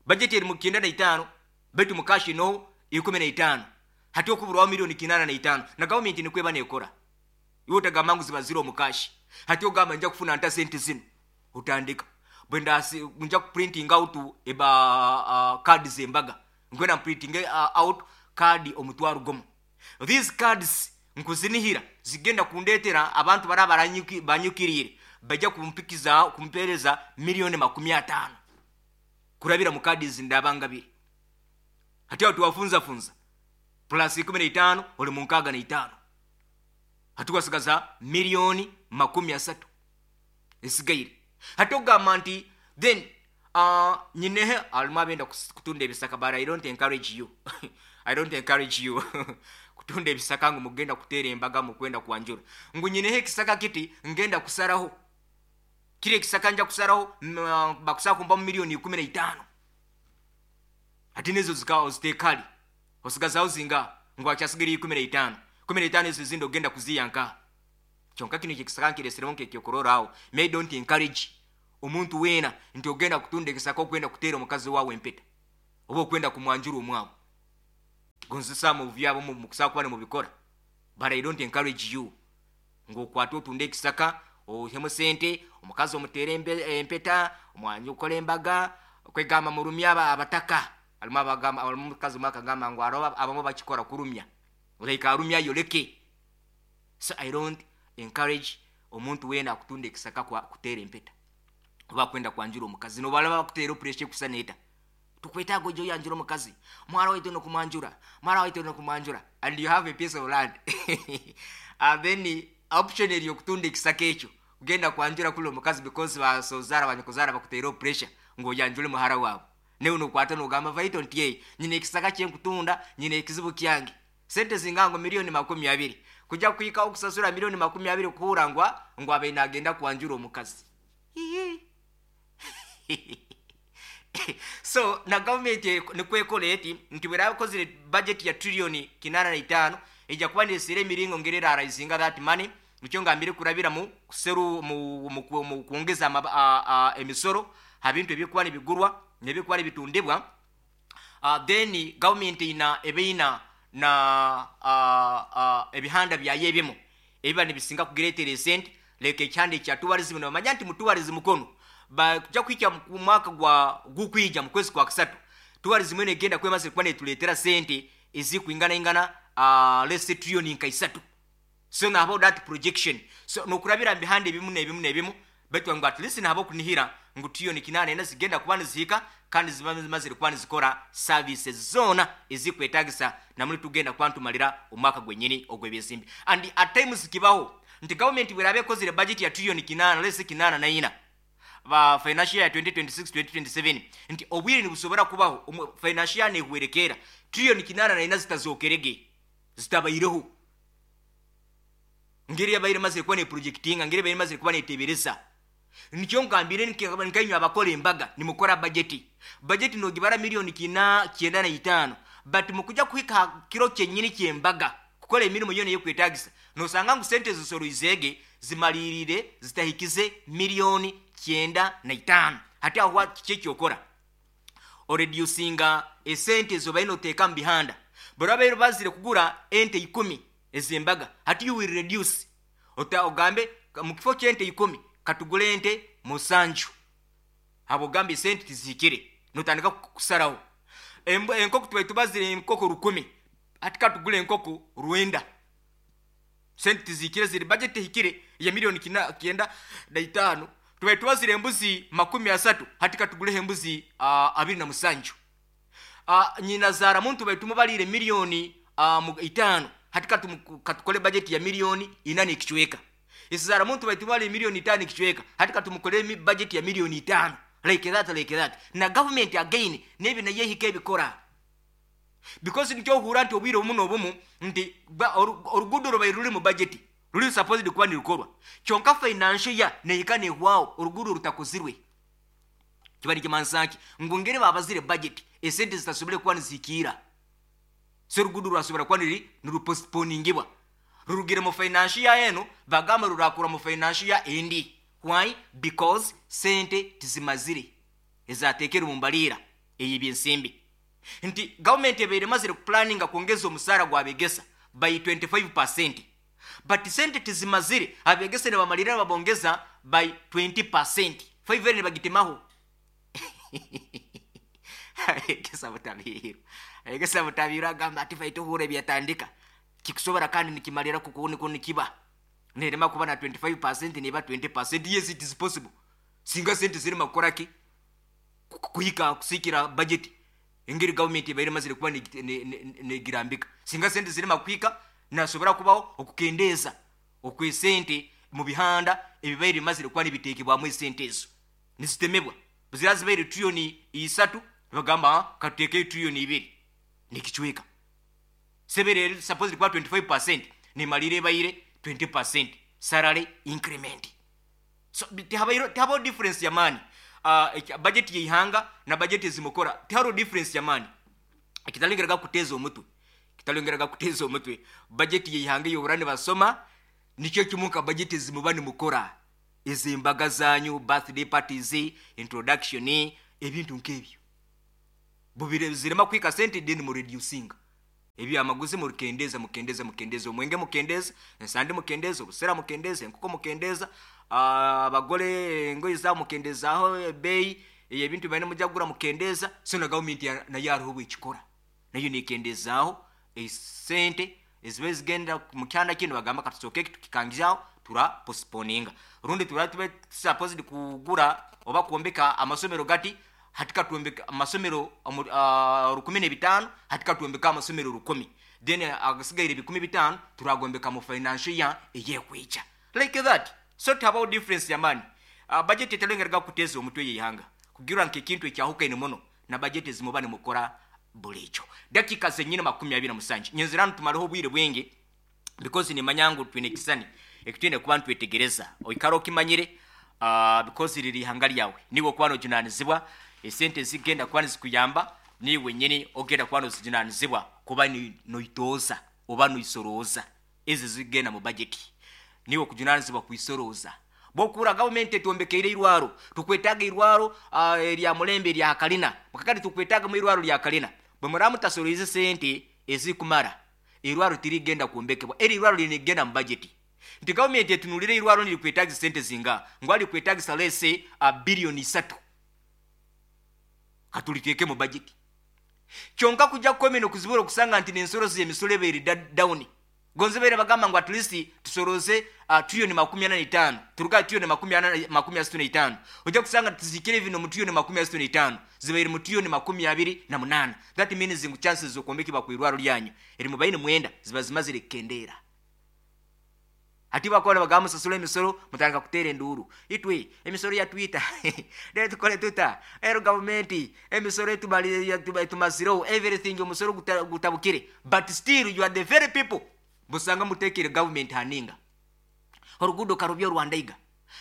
Budget eri mu kyenda na itaano, betu mu cash no ikumi na itaano, hati okuburwawo miliyoni kinana na itaano. Na gavumenti nikweba nekora, iwe otagamba ngu ziba ziri omu cash. Hati ogamba nja kufuna nta sente zino? Otandika bwendasi nja kuprinting out eba uh, card zembaga, nkwenda printing uh, out card omutwaro gumu. These cards nkuzinihira zigenda kundetera abantu bara baranyuki banyukirire bajja kumpikiza kumpereza miliyoni makumi ataano kurabira mu kadi zindabangabire. Hati awo tuwafunza funza plus ikumi na itaano, oli mu nkaaga na itaano, hati wasigaza miliyoni makumi asatu esigaire. Hati ogamba nti then uh, nyinehe alimu abenda kus- kutunda ebisaka, but I don't encourage you, I don't encourage you kutunda ebisaka ngu mugenda kuteera embaga, mukwenda kwanjura, ngu nyineho ekisaka kiti ngenda kusaraho kiri ekisaka, nja kusaraho mm, uh, bakusaba kumpa mu miliyoni ikumi na itaano. Ati nezo zika oziteekali osigazaho zinga? Ngu akyasigira ikumi na itaano. Kumi na itaano ezo ezindi ogenda kuziyanka. Kyonka kino kyekisaka nkireseremu nkekyokuroraawo. May don't encourage Omuntu weena nti ogenda kutunda ekisaka okwenda kuteera omukazi waawe empeta oba okwenda kumwanjura omwawe. Gonzesa mu byabo mukusobola kuba nimubikora, but I don't encourage you ng'okwata otunda ekisaka ohemu sente omukazi omuteere empeta omwanja okora embaga kwegamba murumya aba abataka. Alimu abagamba, alimu omukazi omwe akagamba ngu hariho abamu bakikora kurumya, like arumya ayoleke. So I don't encourage omuntu weena akutunda ekisaka kuteera empeta oba kwenda kwanjura omukazi. Nobalaba bakuteera pressure ekusana eta, tukwetaaga ojja oyanjura omukazi, mwara waitu nokumwanjura, mwara waitu nokumwanjura, and you have a piece of land, and then option eri okutunda ekisaka ekyo kugenda kwanjura kuli omukazi because basozaara banyakuzaara bakuteera pressure ng'oyanjule muhara waabo. Newe nokwata nogamba vaito nti ei nyina ekisaka kyenkutunda, nyina ekizibu kyange, sente zingango miliyoni makumi abiri kujja kuhika okusasura miliyoni makumi abiri kuhura ngwa ngu abe nagenda kwanjura omukazi. So na gavumenti nikwekola eti nti bwerakozire budget ya trillioni kinana na itaano ejja kuba nesera emiringo ngeri eraraisinga that money. Nikyo ngambire kurabira mu kuseru mu, mu, mu kwongeza emisoro ha bintu ebikuba nibigurwa nebikuba nibitundibwa. Uh, then gavumenti ina ebeina na uh, uh, ebihanda byayo ebimu ebiba nibisinga kugireetera esente, leka ekihanda ekya tourism. Nibamanya nti mu tourism kono bakuja kuhika mu mwaka gwa gukwija mu kwezi kwa kusatu tourism eno egenda kwemaze kuba netuleetera sente ezikuinganaingana uh, let's say trillion nka isatu. So nabo that projection, so nokurabira mubihanda ebimu nebimu nebimu baitu ngu at least nabo kunihira ngu trillion kinana ena zigenda kuba nizihika kandi ziba zimazire kuba nizikora services zona ezikwetagisa namuli tugenda kuba ntumalira omwaka gwenyini ogw'ebyensimbi. And at times kibaho nti government bwerabe ekozire budget ya trillion kinana, let's say kinana na ina ba financial year twenty twenty-six twenty twenty-seven, nti obwire nibusobora kubaho financial year nehwerekera trillion kinana na ina zitazokerege zitabaireho ngeri yabaire mazire kuba ne projectinga, ngeri yabaire mazire kuba netebereza. Nikyo ngambire nkainywa abakora embaga nimukora budget budget nogibara miliyoni kina kyenda na itaano, but mukuja kuhika kiro kyenyini kyembaga kukola emirimu yona eyokwetagisa nosanga ngu sente zisoroizege zimalirire zitahikize miliyoni kyenda na itaano. Hati aho kiki kyokora oreducinga esente zo baino oteeka mu bihanda barabaire bazire kugura ente ikumi ezembaga, hati you will reduce ota ogambe mu kifo ky'ente ikumi katugule ente musanju, abo gambe sente tizikire notandika kusaraho. Enkoko tubaye tubazire enkoko rukumi, hati katugule enkoko rwenda, sente tizikire ziri budget hikire ya miliyoni kyenda na itaano. Tubaye tubazire embuzi makumi asatu, hati katugule embuzi uh, abiri na musanju. Uh, nyina zara muntu baye tumubalire miliyoni uh, itaano, hati katukole budget ya miliyoni inane ikichweka. Isizara muntu baitumali milioni itano ikichweka, hati katumukole budget ya milioni itano. Like that, like that. Na government again nebi na yehike ebikora because nikyo ohura nti obwire obumu n'obumu nti orugudo rubaire ruri mu budget ruri supposed kuba nirukorwa, kyonka financial year nehika nehwaho orugudo rutakozirwe. Kiba nikimansa ngu ngeri babazire budget esente zitasobole kuba nizihikira, so orugudo rwasobora kuba niri nirupostponingibwa rurugire mu financial year eno bagamba rurakura mu financial year endi. Why? Because sente tizimazire ezatekere mu mbalira ey'ebyensimbi. Nti government ebeire mazire kuplanninga kuongeza omusara gwabegesa by twenty-five percent, but sente tizimazire abegesa ne bamalira babongeza by twenty percent, five ne bagitemaho. Abegesa butabiru, abegesa butabiru agamba ati faito hure byatandika kikusobora kandi nikimalira kukuone kuni kiba nerema kuba na twenty-five percent neba twenty percent. Yes, it is possible singa sente zirima kukoraki kuhika kusikira budget engeri government ebaire mazire kuba negirambika, singa sente zirima kuhika nasobora kubaho okukendeza okwesente mu bihanda ebibaire mazire kuba nibitekebwamu esente ezo nizitemebwa buzira zibaire trillioni isatu bagamba kateke trillioni ibiri nikichweka sebere supposed kuba twenty-five percent nimalire baire twenty percent salary increment. So tihabairo tihabo difference ya money. Uh, budget yeihanga na budget zimukora tiharo difference ya money. Kitalengeraga kuteza omutwe, kitalengeraga kuteza omutwe budget yeihanga yoburane basoma nikyo kimuka budget zimubani mukora. Ez'embaga zanyu, birthday parties, introduction, ebintu nk'ebyo bubire zirema kwika sente, then mureducinga ebyamaguzi, mukendeza, mukendeza, mukendeza omwenge, mukendeza ensandi, mukendeza obusera, mukendeza enkoko, mukendeza abagole engoye zabo, mukendezaho ebeeyi ebintu baine mujja kugura, mukendeza. So na gavumenti nayo hariho bwekikora, nayo nekendezaaho esente eziba zigenda mu kyanda kino. Bagamba katusooke tukikangizaho, tura postponinga, rundi tura tube supposed kugura oba kwombeka amasomero gati, hati katwombeka amasomero uh, rukumi n'ebitaano, hati katwombeka amasomero rukumi, then agasigaire ebikumi bitaano turagombeka mu financial year eyekwija, like that. So tihabaho difference yamaani. uh, budget etalengeraga kuteeza omutwe yeihanga kugira nka ekintu ekyahukaine muno na budget ezimuba nimukora bulijo. Dakika zenyine makumi abiri na musanju. Nyenzera tumaleho obwire bwingi because nimanya ngu twine ekisani ekitwine kuba ntwetegereza. Oikara okimanyire, uh, because riri ihanga lyawe, niwe okuba nojunanizibwa. Esente zigenda kuba nizikuyamba, niwe nyini ogenda kuba nozijunanizibwa kuba noitooza oba noisorooza. Ezi zigenda mu budget, niwe okujunanizibwa kuisorooza. Bwokura gavumenti etwombekeire irwaro, tukwetaga irwaro uh, erya mulembe erya kalina, kakati tukwetaga mu irwaro lya kalina. Bwe muraba mutasoroize sente ezikumara, irwaro tirigenda kwombekebwa. Eri irwaro linigenda mu budget nti gavumenti etunulire irwaro nirikwetagisa sente zinga, ngu alikwetagisa lese uh, biliyoni isatu, katuliteeke mu budget. Kyonka kujja kukomena okuzibula okusanga nti nensolo zemisolo ebeeri down. Gonze beere bagamba ngu at least tusoroze uh, trillioni makumi ana n'itaano, turuga trillioni makumi ana makumi asatu n'itaano, ojja kusanga tuzikire bino mu trillioni makumi asatu n'itaano, zibaire mu trillioni makumi abiri na munaana. That means ngu chances z'okwombekebwa ku irwaro lyanyu eri mu baine mwenda ziba zimazire kukendeera. Ati bakora bagamba musasula emisoro, mutandika kuteera enduuru, itwe emisoro yatwita, rero tukole tuta? Ero gavumenti emisoro etumazireho everything, omusoro gutabukire. But still you are the very people busanga mutekere government haninga orugudo karubya rwandaiga,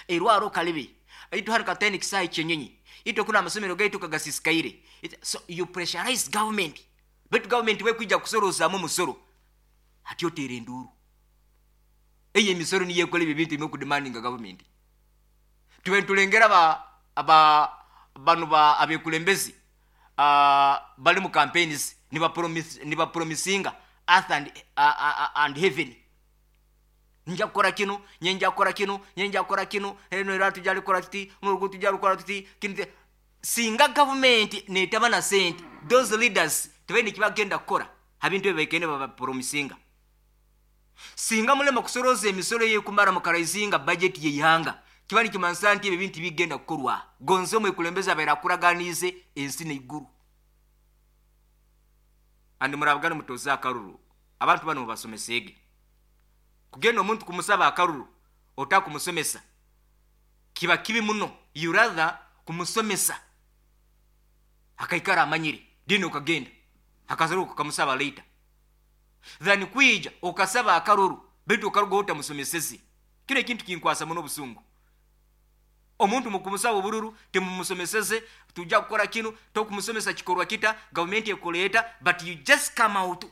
erwaro kalibi, itu hari kateni kisai chenyenyi, itu kuna amasomero gaitu kagasisikaire. So you pressurize government, but government we kwija kusorozaamu omusoro, ati oteera enduuru. Eyo emisoro niyo ekola ebyo ebintu ebimwe government. Tube ntulengera ba aba bano ba abekulembezi uh, bali mu campaigns, niba promisinga earth and, uh, uh, and heaven: nja kukola kino, nye nja kukola kino, nye nja kukola kino, eno era tujja likola tuti, n'oluguudo tujja lukola tuti kino. Singa gavumenti netaba na sente, those leaders tebalina ekibagenda kukola habintu ebyo baikende babapromisinga. Singa mulema kusoroza emisolo yekumara mukaraizinga budget yeihanga, kiba nikimanisa nti ebyo bintu bigenda kukorwa. Gonze omwekulembeze abaire akuraganize ensi neiguru. Andi murabugani mutoze akaruru, abantu bano mubasomesege. Kugenda omuntu kumusaba akaruru otakumusomesa kiba kibi muno. You rather kumusomesa akaikara amanyire, dini okagenda akazaruka ukamusaba later, than kwija okasaba akaruru bitu okaruga otamusomeseze. Kino ekintu kinkwasa muno obusungu. Omuntu mukumusaba obururu temumusomeseze, tujja kukora kino, tokumusomesa kikorwa kita gavumenti ekuleeta, but you just come out: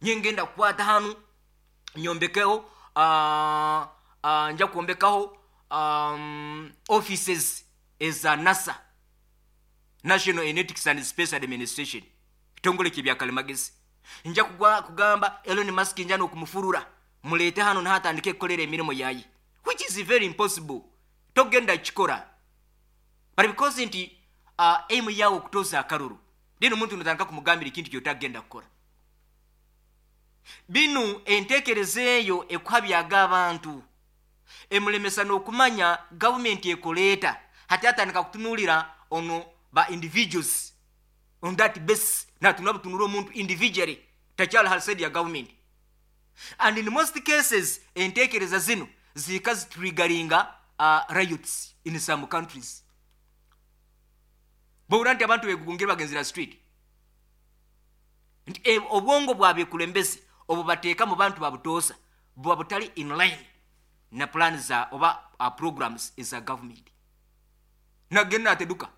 nyengenda kukwata hanu nyombekeho, uh, uh, nja kwombekaho um, offices eza NASA, National Aeronautics and Space Administration, kitongole kyebyakalimagezi. Nja kugamba Elon Musk nja nokumufurura, muleete hano nahatandike ekukolera emirimu yaye, which is very impossible, togenda kikora. But because nti uh, aim yawe okutoza akaruru, then omuntu notandika kumugambira ekintu kyotagenda kukora. Binu entekereza eyo ekuhabyaga abantu, emulemesa n'okumanya gavumenti ekoleeta. Hati atandika kutunuulira ono ba individuals on that base, natunula butunula omuntu individually, takyali hali side ya government. And in most cases entekereza zino zika zitriggeringa uh, riots in some countries. Bwowulira nti abantu begugungire bagenzera street, nti eh, obwongo bwabekulembeze obwo bateeka mu bantu babutoosa buba butali in line na plan za oba uh, programs eza government. Nagenda nateduka,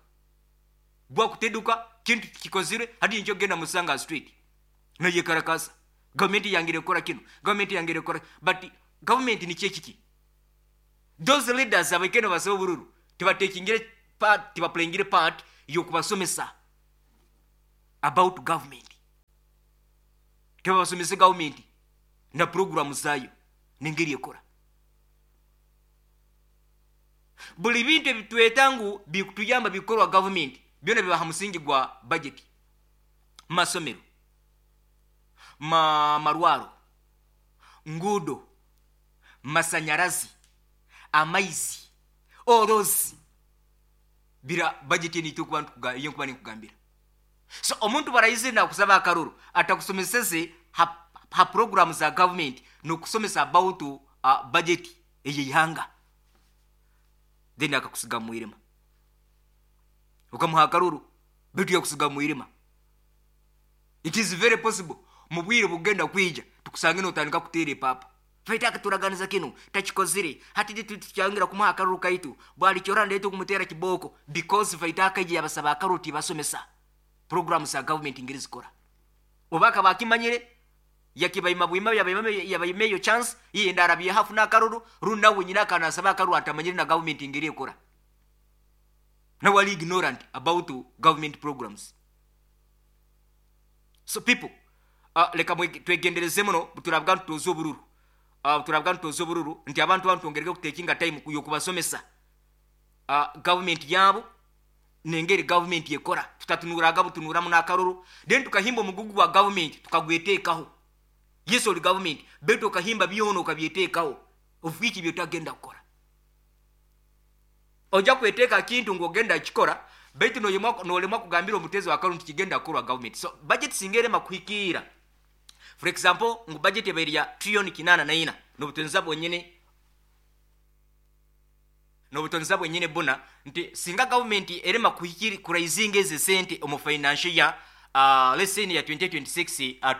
bwakuteduka kintu kikozire, hati nkyo genda musanga street nayekarakasa, gavumenti yangire ekola kino, gavumenti yangire ekola. But gavumenti nikyo ekiki? Those leaders abaikene basaba obururu tibatekingire part, tibaplayingire part yokubasomesa about government. Tibabasomese government na programu zayo nengeri ekora. Buli bintu ebitweta ngu bikutuyamba bikorwa government byona biba ha musingi gwa budget. Masomero, ma marwaro, ngudo, masanyarazi, amaizi, all those bira budget ni tukuba ntukuga iyo nkuba nikugambira. So omuntu barayize na kusaba akaruru atakusomeseze ha, ha program za government no kusomesa about uh, budget eyihanga, then akakusiga mwirima ukamuha akaruru bitu yakusiga mwirima. It is very possible mubwire bugenda kwija tukusange notandika kutere papa faita akaturaganiza kino tachikozire hati tuchangira kumuha akaruru kaitu bwali chora ndeto kumutera kiboko because faita akaje yabasaba akaruru tibasomesa program za government ingiri zikora obaka bakimanyire yakibayima bwima yabayima yabayima yo chance yenda arabye hafu na akaruru runa wenyina kana saba akaruru atamanyire na government ingiri ikora na wali ignorant about government programs. So people, uh, leka twegendereze muno turabwa ntuzo obururu uh, turabwa ntuzo obururu nti abantu bantu ongereke kutekinga time yokubasomesa uh, government yabo nengeri government yekora. Tutatunuraga butunura mu nakaruru then tukahimba omugugu wa government tukagwetekaho. Yesu oli government beto kahimba byono kabyetekaho ofiki byotagenda kukora. Oja kweteka kintu ngogenda kikora betu no nolemwa kugambira omutezo wa karu kigenda kukorwa government. So budget singere makuhikira. For example, ngu budget ebairi ya trillion kinana na ina nobutonza bwonyene nobutonza bwonyene bona nti singa government erema kuhikiri kuraizinga eze sente omu financial ya uh, let's say ya twenty twenty-six uh,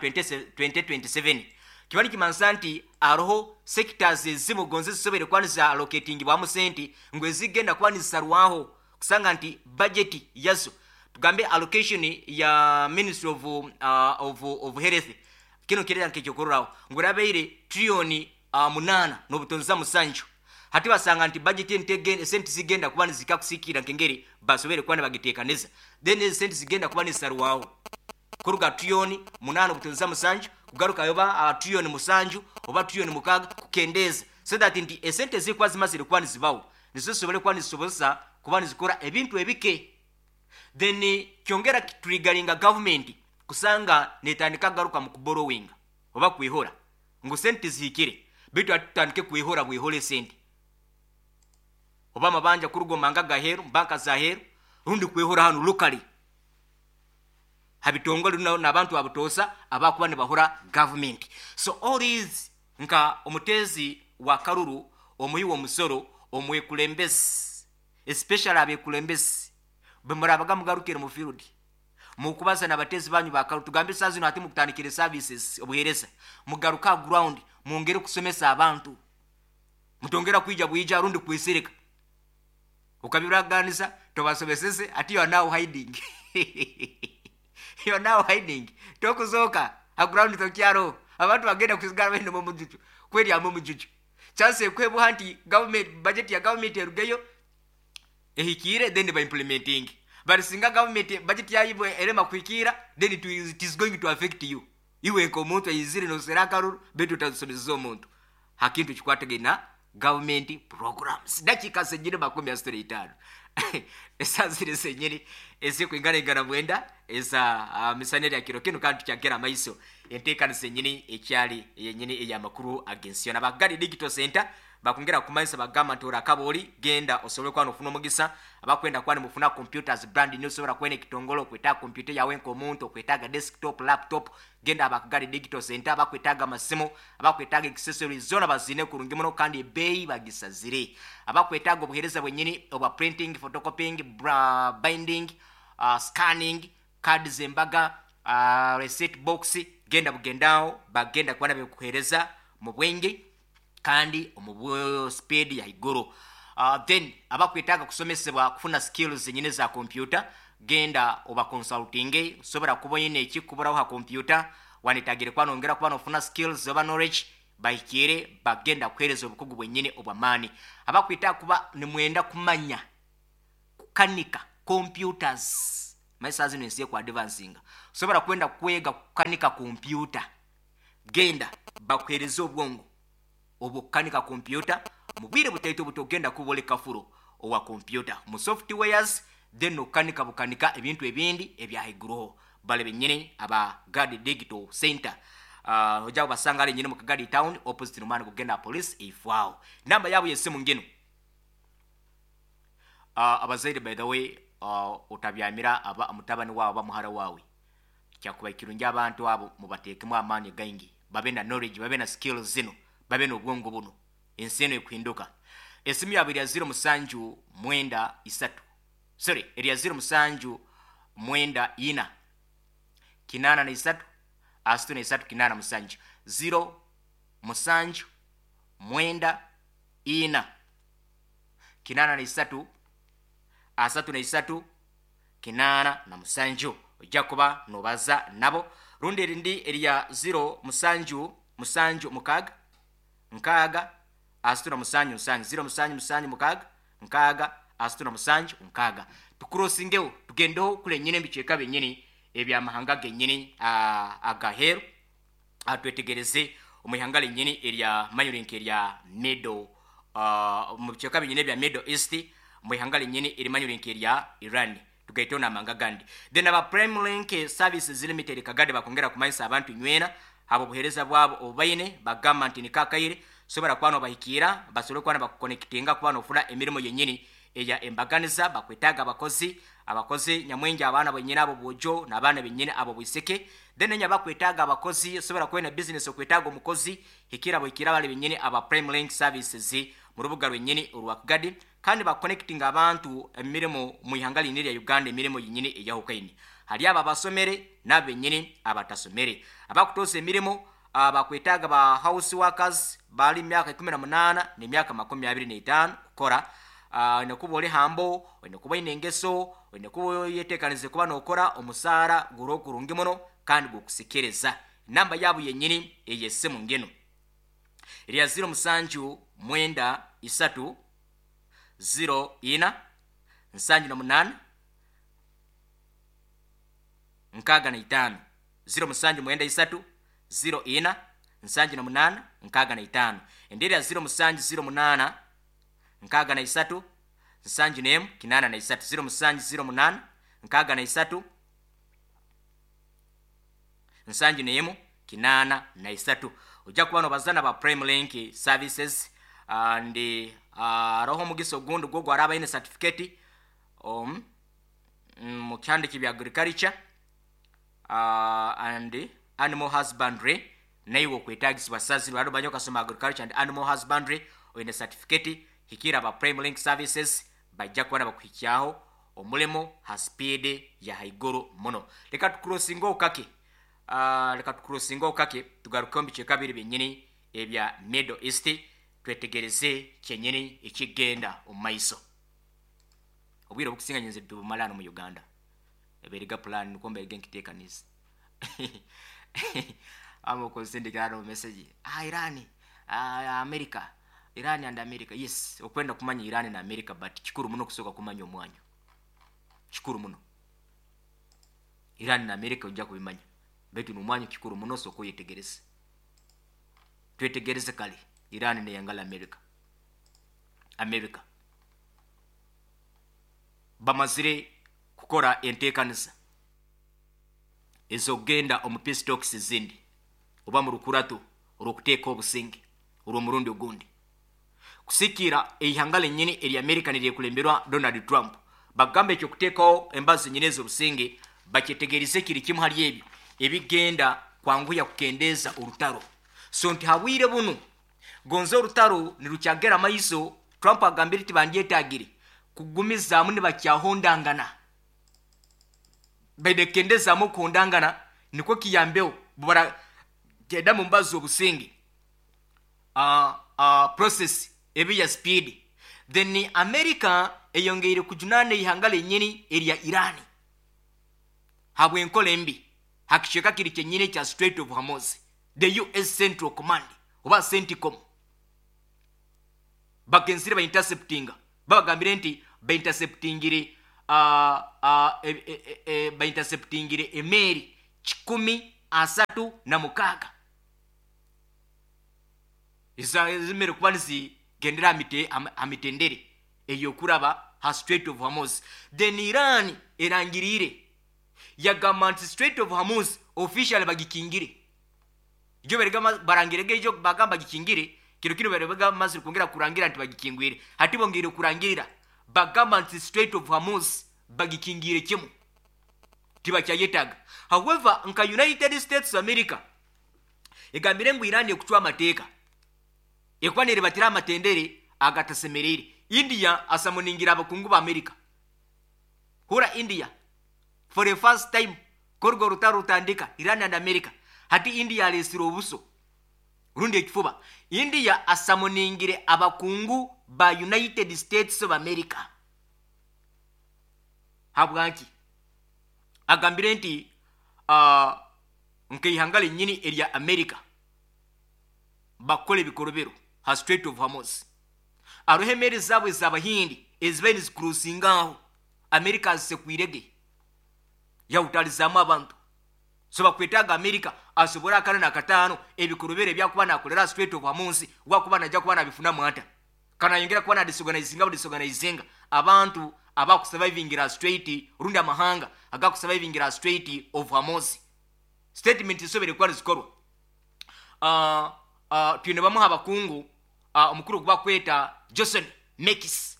twenty twenty-seven kibali kimansa nti aroho sectors ezimu gonze zisobere kwaniza allocating bwa sente ngwe zigenda kwanizarwaho kusanga nti budget yazo tugambe allocation ya Ministry of uh, of, of Health kino kirera nkekyokorraho ngurabeire trillion uh, munana nobutonza musanju hati basanga nti budget entege sente zigenda kuba nizika kusikira nkengeri basobere kwana bagitekaneza then sente zigenda kuba nisarwaho kuruga trillion munana obutonza musanju kugaruka yoba uh, trillion musanju oba trillion mukaga kukendeza so that nti esente zikwa zimazire kuba nizibawo nizosobole kuba nizisobozesa kuba nizikora ebintu ebike. Then kyongera triggeringa government kusanga netandika garuka mu kuborrowing oba kwihora ngo sente zihikire bitu atandike kwihora bwihole sente oba mabanja kurugomanga gaheru banka zaheru rundi kwihora hano locally habitongole n'abantu abutosa abakuba ne bahora government. So all these nka omutezi wa karuru omuyi wo musoro omwekulembezi especially abekulembezi bemurabaga mugarukire mu field mukubaza nabatezi banyu bakaru tugambe sazi no ati mukutandikire services obuhereza mugaruka ground muongere kusomesa abantu mutongera kwija bwija rundi kwisirika ukabiraganiza tobasomesese ati you are now hiding you are now hiding tokuzoka a ground tokyaro abantu bagenda kusigara bende mu mujuju kweli amu mujuju chance kwebu hanti government budget ya government erugeyo ehikire then by implementing but singa government budget ya ibo erema kuikira then it is, it is going to affect you iwe nko omuntu ayizire no serakaru betu tazosomeza omuntu hakintu kikwategena government programs. Dakika zenyine makumi asatu itano esazire zenyine ezikuingana ingana mwenda eza uh, misaneri ya kiro kino kandi kyagera maiso enteekano zenyini ekyali yenyini eyamakuru agensiyo nabagari digital center bakongera kumanisa bagamba nti orakaboli genda osobole kwano ofuna omugisa abakwenda kwani mufuna computers brand new sobola kwene kitongolo kwetaaga computer yawe nk'omuntu okwetaaga desktop laptop genda abakugari digital center abakwetaaga amasimu abakwetaaga accessories zona bazine kurungi muno kandi ebeeyi bagisazire abakwetaaga obuheereza bwenyini obwa printing photocopying bra, binding uh, scanning cards embaga uh, receipt box genda bugendaho bagenda kuba bikuhereza mu bwenge kandi omu speed ya iguru. Uh, then abakwetaaga kusomesebwa kufuna skills zenyine za computer genda oba consulting sobera kuba yine ekikuburaho ha computer wanetagire kwa nongera kuba nofuna skills oba knowledge Bahikire bagenda kuhereza obukugu bwenyini obw'amaani. Abakwita kuba nimwenda kumanya kukanika computers, maisa zino ensi ku advancinga, osobola kwenda kwega kukanika kompyuta, genda bakuhereza obwongo obukanika kompyuta mu bwire butaito butogenda kuba kafuro owa kompyuta mu softwares, then okanika bukanika ebintu ebindi ebyahaiguruho. Bale benyini aba Gadi Digital Center, uh, ojja kubasanga ali nyini mu Kagadi Town, opposite nomani kugenda police ifwao. Namba yabo yesimu ngino. uh, abazaire by the way, uh, utabyamira aba mutabani wawe aba muhara wawe, kyakuba kirungi abantu abo mubateekemu amaani gaingi, babe na knowledge, babe na skills zino, babe n'obwongo buno. Ensi eno ekuhinduka. Esimu yabwe erya zero musanju mwenda isatu, sorry, erya zero musanju mwenda ina kinana na isatu asatu na isatu kinana musanju, zero musanju mwenda ina kinana na isatu asatu na isatu kinana na musanju. Ojja kuba nobaza nabo. Rundi erindi erya zero musanju musanju mukaga nkaaga asatu na musanju nsanju, zero musanju musanju mukaga nkaaga asatu na musanju nkaaga. Tukurosingeho tugendeho kule nyine ebicweka byenyini ebyamahanga genyini agaheru, twetegereze omu ihanga lenyini erya manyurinka erya middle, mu bicweka byenyini ebya Middle East, mu ihanga lenyini erimanyurinka erya Iran, tugaiteho n'amahanga gandi. Then aba Prime Link Services Limited Kagadi bakongera kumanyisa abantu nywena abo buhereza bwabo obubaine, bagamba nti nikakaire sobora kuba nobahikira, basobole kuba bakuconnectinga kuba nofuna emirimu yenyini eya embaganiza. Bakwetaaga abakozi, abakozi nyamwingi, abaana benyini abo bwojo n'abaana benyini abo bwiseke. Then enya bakwetaaga abakozi, osobola kuba na business okwetaaga omukozi, hikira bwikira bali benyini aba Prime Link Services mu rubuga lwenyini olwa Kagadi. Kandi baconnectinga abantu emirimu mu ihanga lini lya Uganda, emirimu yenyini eyahukaine. Hali abo abasomere n'abenyini abatasomere abakutosa emirimu. Bakwetaaga ba house workers bali myaka ikumi na munaana n'emyaka makumi abiri n'etaano kukora. Olina kuba oli hambo, olina kuba oyine engeso, olina kuba yeteekanize kuba n'okora omusaara guri kurungi muno kandi gukusikiriza. Namba yabo yenyini ey'essimu ngino erya zero musanju mwenda isatu zero ina nsanju na munaana nkaaga na itaano, zero musanju mwenda isatu zero ina nsanju na munaana nkaaga na itaano. Endera ya zero musanju zero munaana nkaaga na isatu nsanju n'emu kinaana na isatu, zero musanju zero munaana nkaaga na isatu nsanju n'emu kinaana na isatu. Ojja kuba nobazana ba Prime Link Services. And aroho omugisa ogundi gwo gwaraba aine certificate um, mu kyandiki bya agriculture uh, and animal husbandry, naiwe okwetagisibwa saziro ado banyo kasoma agriculture and animal husbandry oyine certificate, hikira ba Prime Link Services bajja kuba bakuhikyaho omulimo ha speed ya haiguru muno. Leka tukurosinga okake, uh, leka tukurosinga okake tugaruke mu bicweka biri byenyini ebya Middle East, twetegereze kyenyini ekigenda omu maiso. Obwire obukusinga nyenze tubumala mu Uganda eberiga plan nuko mberiga nkiteekaniza ama okusindikira no message, ah, Iran, ah, America, Iran and America. Yes, okwenda kumanya Iran na America, but kikuru muno kusooka kumanya omwanyo. Kikuru muno Iran na America ojja kubimanya, baitu n'omwanyo kikuru muno sooka oyetegereze. Twetegereze kale Iran neyangala America. America bamazire kukora enteekaniza ez'okugenda omu peace talks ezindi oba mu rukurato olw'okuteeka obusinge olw'omurundi ogundi kusikira eihanga lenyini erya America niryekulемberwa Donald Trump. Bagamba ekyo kuteekawo embazo zenyini ez'obusinge bakyetegereze kiri kimu hali ebyo ebigenda kwanguya kukendeeza orutaro. So nti habwire bunu gonza orutaro nirukyagera maiso. Trump agambire ti bandyetagire kugumizaamu nibakyahondangana, baidekendezaamu okuhondangana nikwo kiyambeho bubara genda mu mbazo obusinge, uh, uh, process ebi ya speed. Then America eyongeire kujunaana eihanga lenyini erya Iran habw'enkola embi hakicweka kiri kyenyini ekya Strait of Hormuz, the U S Central Command Oba CENTCOM bagenzire bainterceptinga, babagambire nti bainterceptingire uh, uh, e, e, e, bainterceptingire emeeri kikumi asatu na mukaaga ezimere kuba nizigendera amitendere eyokuraba ha Strait of Hormuz. Then Iran erangirire, yagamba nti Strait of Hormuz officially bagikingire. Ijo berega barangirege, ijo bagamba gikingire kiro kino, berega mazire kwongera kurangira nti bagikingwire. Hati bongere kurangirira, bagamba nti Strait of Hormuz bagikingire kimu, tibakyayetaga. However, nka United States of America egambire ngu Iran ekucwa amateeka, ekuba nerebatira amatendere agatasemerere. India asamuningira abakungu ba America. Hura India for the first time korgo rutaro rutandika Iran and America, hati India alesire obuso rundi ekifuba. India asamuningire abakungu ba United States of America. Habwanki? Agambire nti uh, nkeihanga lenyini erya America bakole ebikorobero ha Strait of Hormuz. Aroho emeri zaabwe ez'abahindi ezibaire nizikurusingaho, America azisekwirege, yahutalizaamu abantu. So bakwetaaga America asobole akana nakataano ebikorobero ebyakuba nakolera Strait of Hormuz, wakuba najja kuba nabifunamu ata kanayongera kuba nadisorganizinga, budisorganizinga abantu abakusurvivingira Strait, rundi amahanga agakusurvivingira Strait of Hormuz. Statement isobere kuba nizikorwa. uh, uh, twine bamuha abakungu, uh, omukuru gubakweta Johnson Mekis,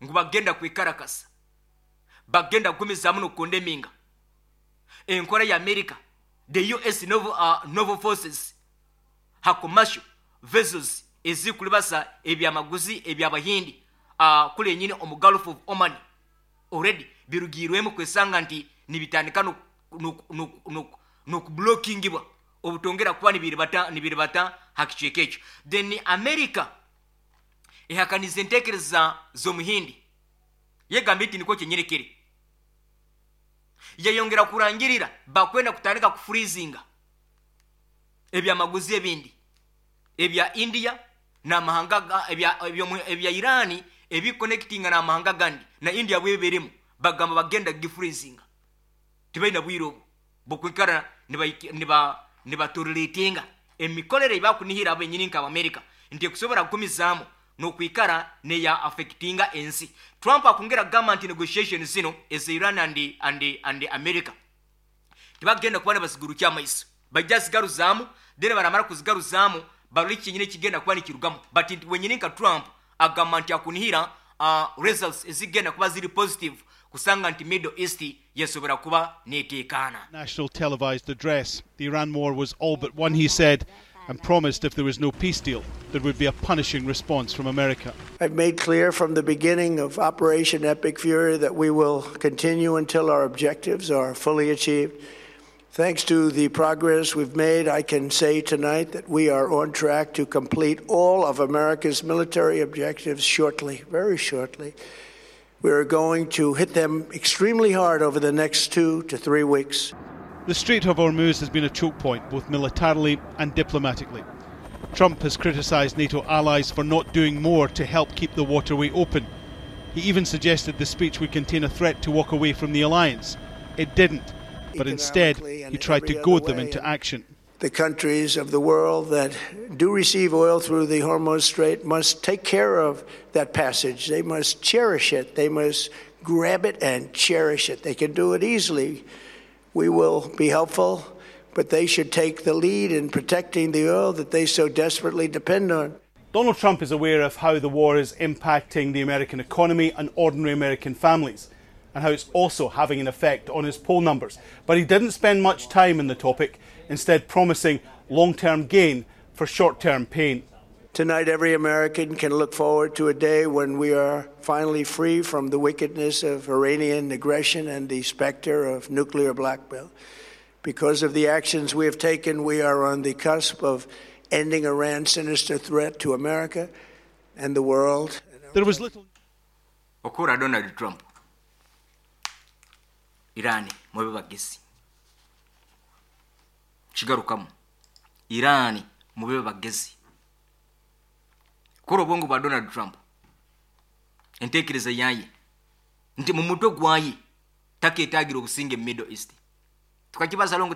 ngu bagenda kwikarakasa, bagenda kugumizaamu nokukondeminga enkora ya America, the U S naval, uh, naval forces ha commercial vessels ezikulibasa ebyamaguzi ebyabahindi uh, kule nyine omu Gulf of Oman. Already birugirwemu kwesanga nti nibitandika nokublockingibwa obutongera kuba nibiribata nibiribata hakicweka ekyo. Then America ehakaniza entekereza z'omuhindi, yegamba iti nikwo kyenyerekere. Yayongera kurangirira bakwenda kutandika kufreezinga ebyamaguzi ebindi ebya India n'amahanga ebya, ebya, ebya Irani ebiconnectinga n'amahanga gandi na India bweberemu. Bagamba bagenda gifreezinga, tibalina bwire obu bukwikara niba nibatoleratinga emikorere ebakunihira abenyini nka America nti ekusobola kukumizaamu n'okwikara neya affectinga ensi. Trump akongera kugamba nti negotiation zino eza Iran and, and, and America tibagenda kuba nibazigurukya amaiso, bajja zigaruzaamu, then baramara kuzigaruzaamu barole kinyine kigenda kuba nikirugamu. But nti wenyini nka Trump agamba nti akunihira uh, results ezigenda kuba ziri positive kusanga nti Middle East yasobora kuba neteekaana. National televised address. The Iran war was all but won, he said, and promised if there was no peace deal, there would be a punishing response from America. I've made clear from the beginning of Operation Epic Fury that we will continue until our objectives are fully achieved. Thanks to the progress we've made, I can say tonight that we are on track to complete all of America's military objectives shortly, very shortly. We are going to hit them extremely hard over the next two to three weeks. The Strait of Hormuz has been a choke point, both militarily and diplomatically. Trump has criticised NATO allies for not doing more to help keep the waterway open. He even suggested the speech would contain a threat to walk away from the alliance. It didn't, but instead he tried to goad them into action. The countries of the world that do receive oil through the Hormuz Strait must take care of that passage. They must cherish it. They must grab it and cherish it. They can do it easily. We will be helpful, but they should take the lead in protecting the oil that they so desperately depend on. Donald Trump is aware of how the war is impacting the American economy and ordinary American families, and how it's also having an effect on his poll numbers. But he didn't spend much time on the topic, instead promising long-term gain for short-term pain. Tonight, every American can look forward to a day when we are finally free from the wickedness of Iranian aggression and the specter of nuclear blackmail. Because of the actions we have taken, we are on the cusp of ending Iran's sinister threat to America and the world. There was little... Okura Donald Trump. Iran, mube bagezi. Kigarukamu. Iran, mube bagezi. Kora obwongo bwa Donald Trump, entekereza yaye nti mu mutwe gwaye taketagira obusinge mu Middle East. Tukakibaza longo.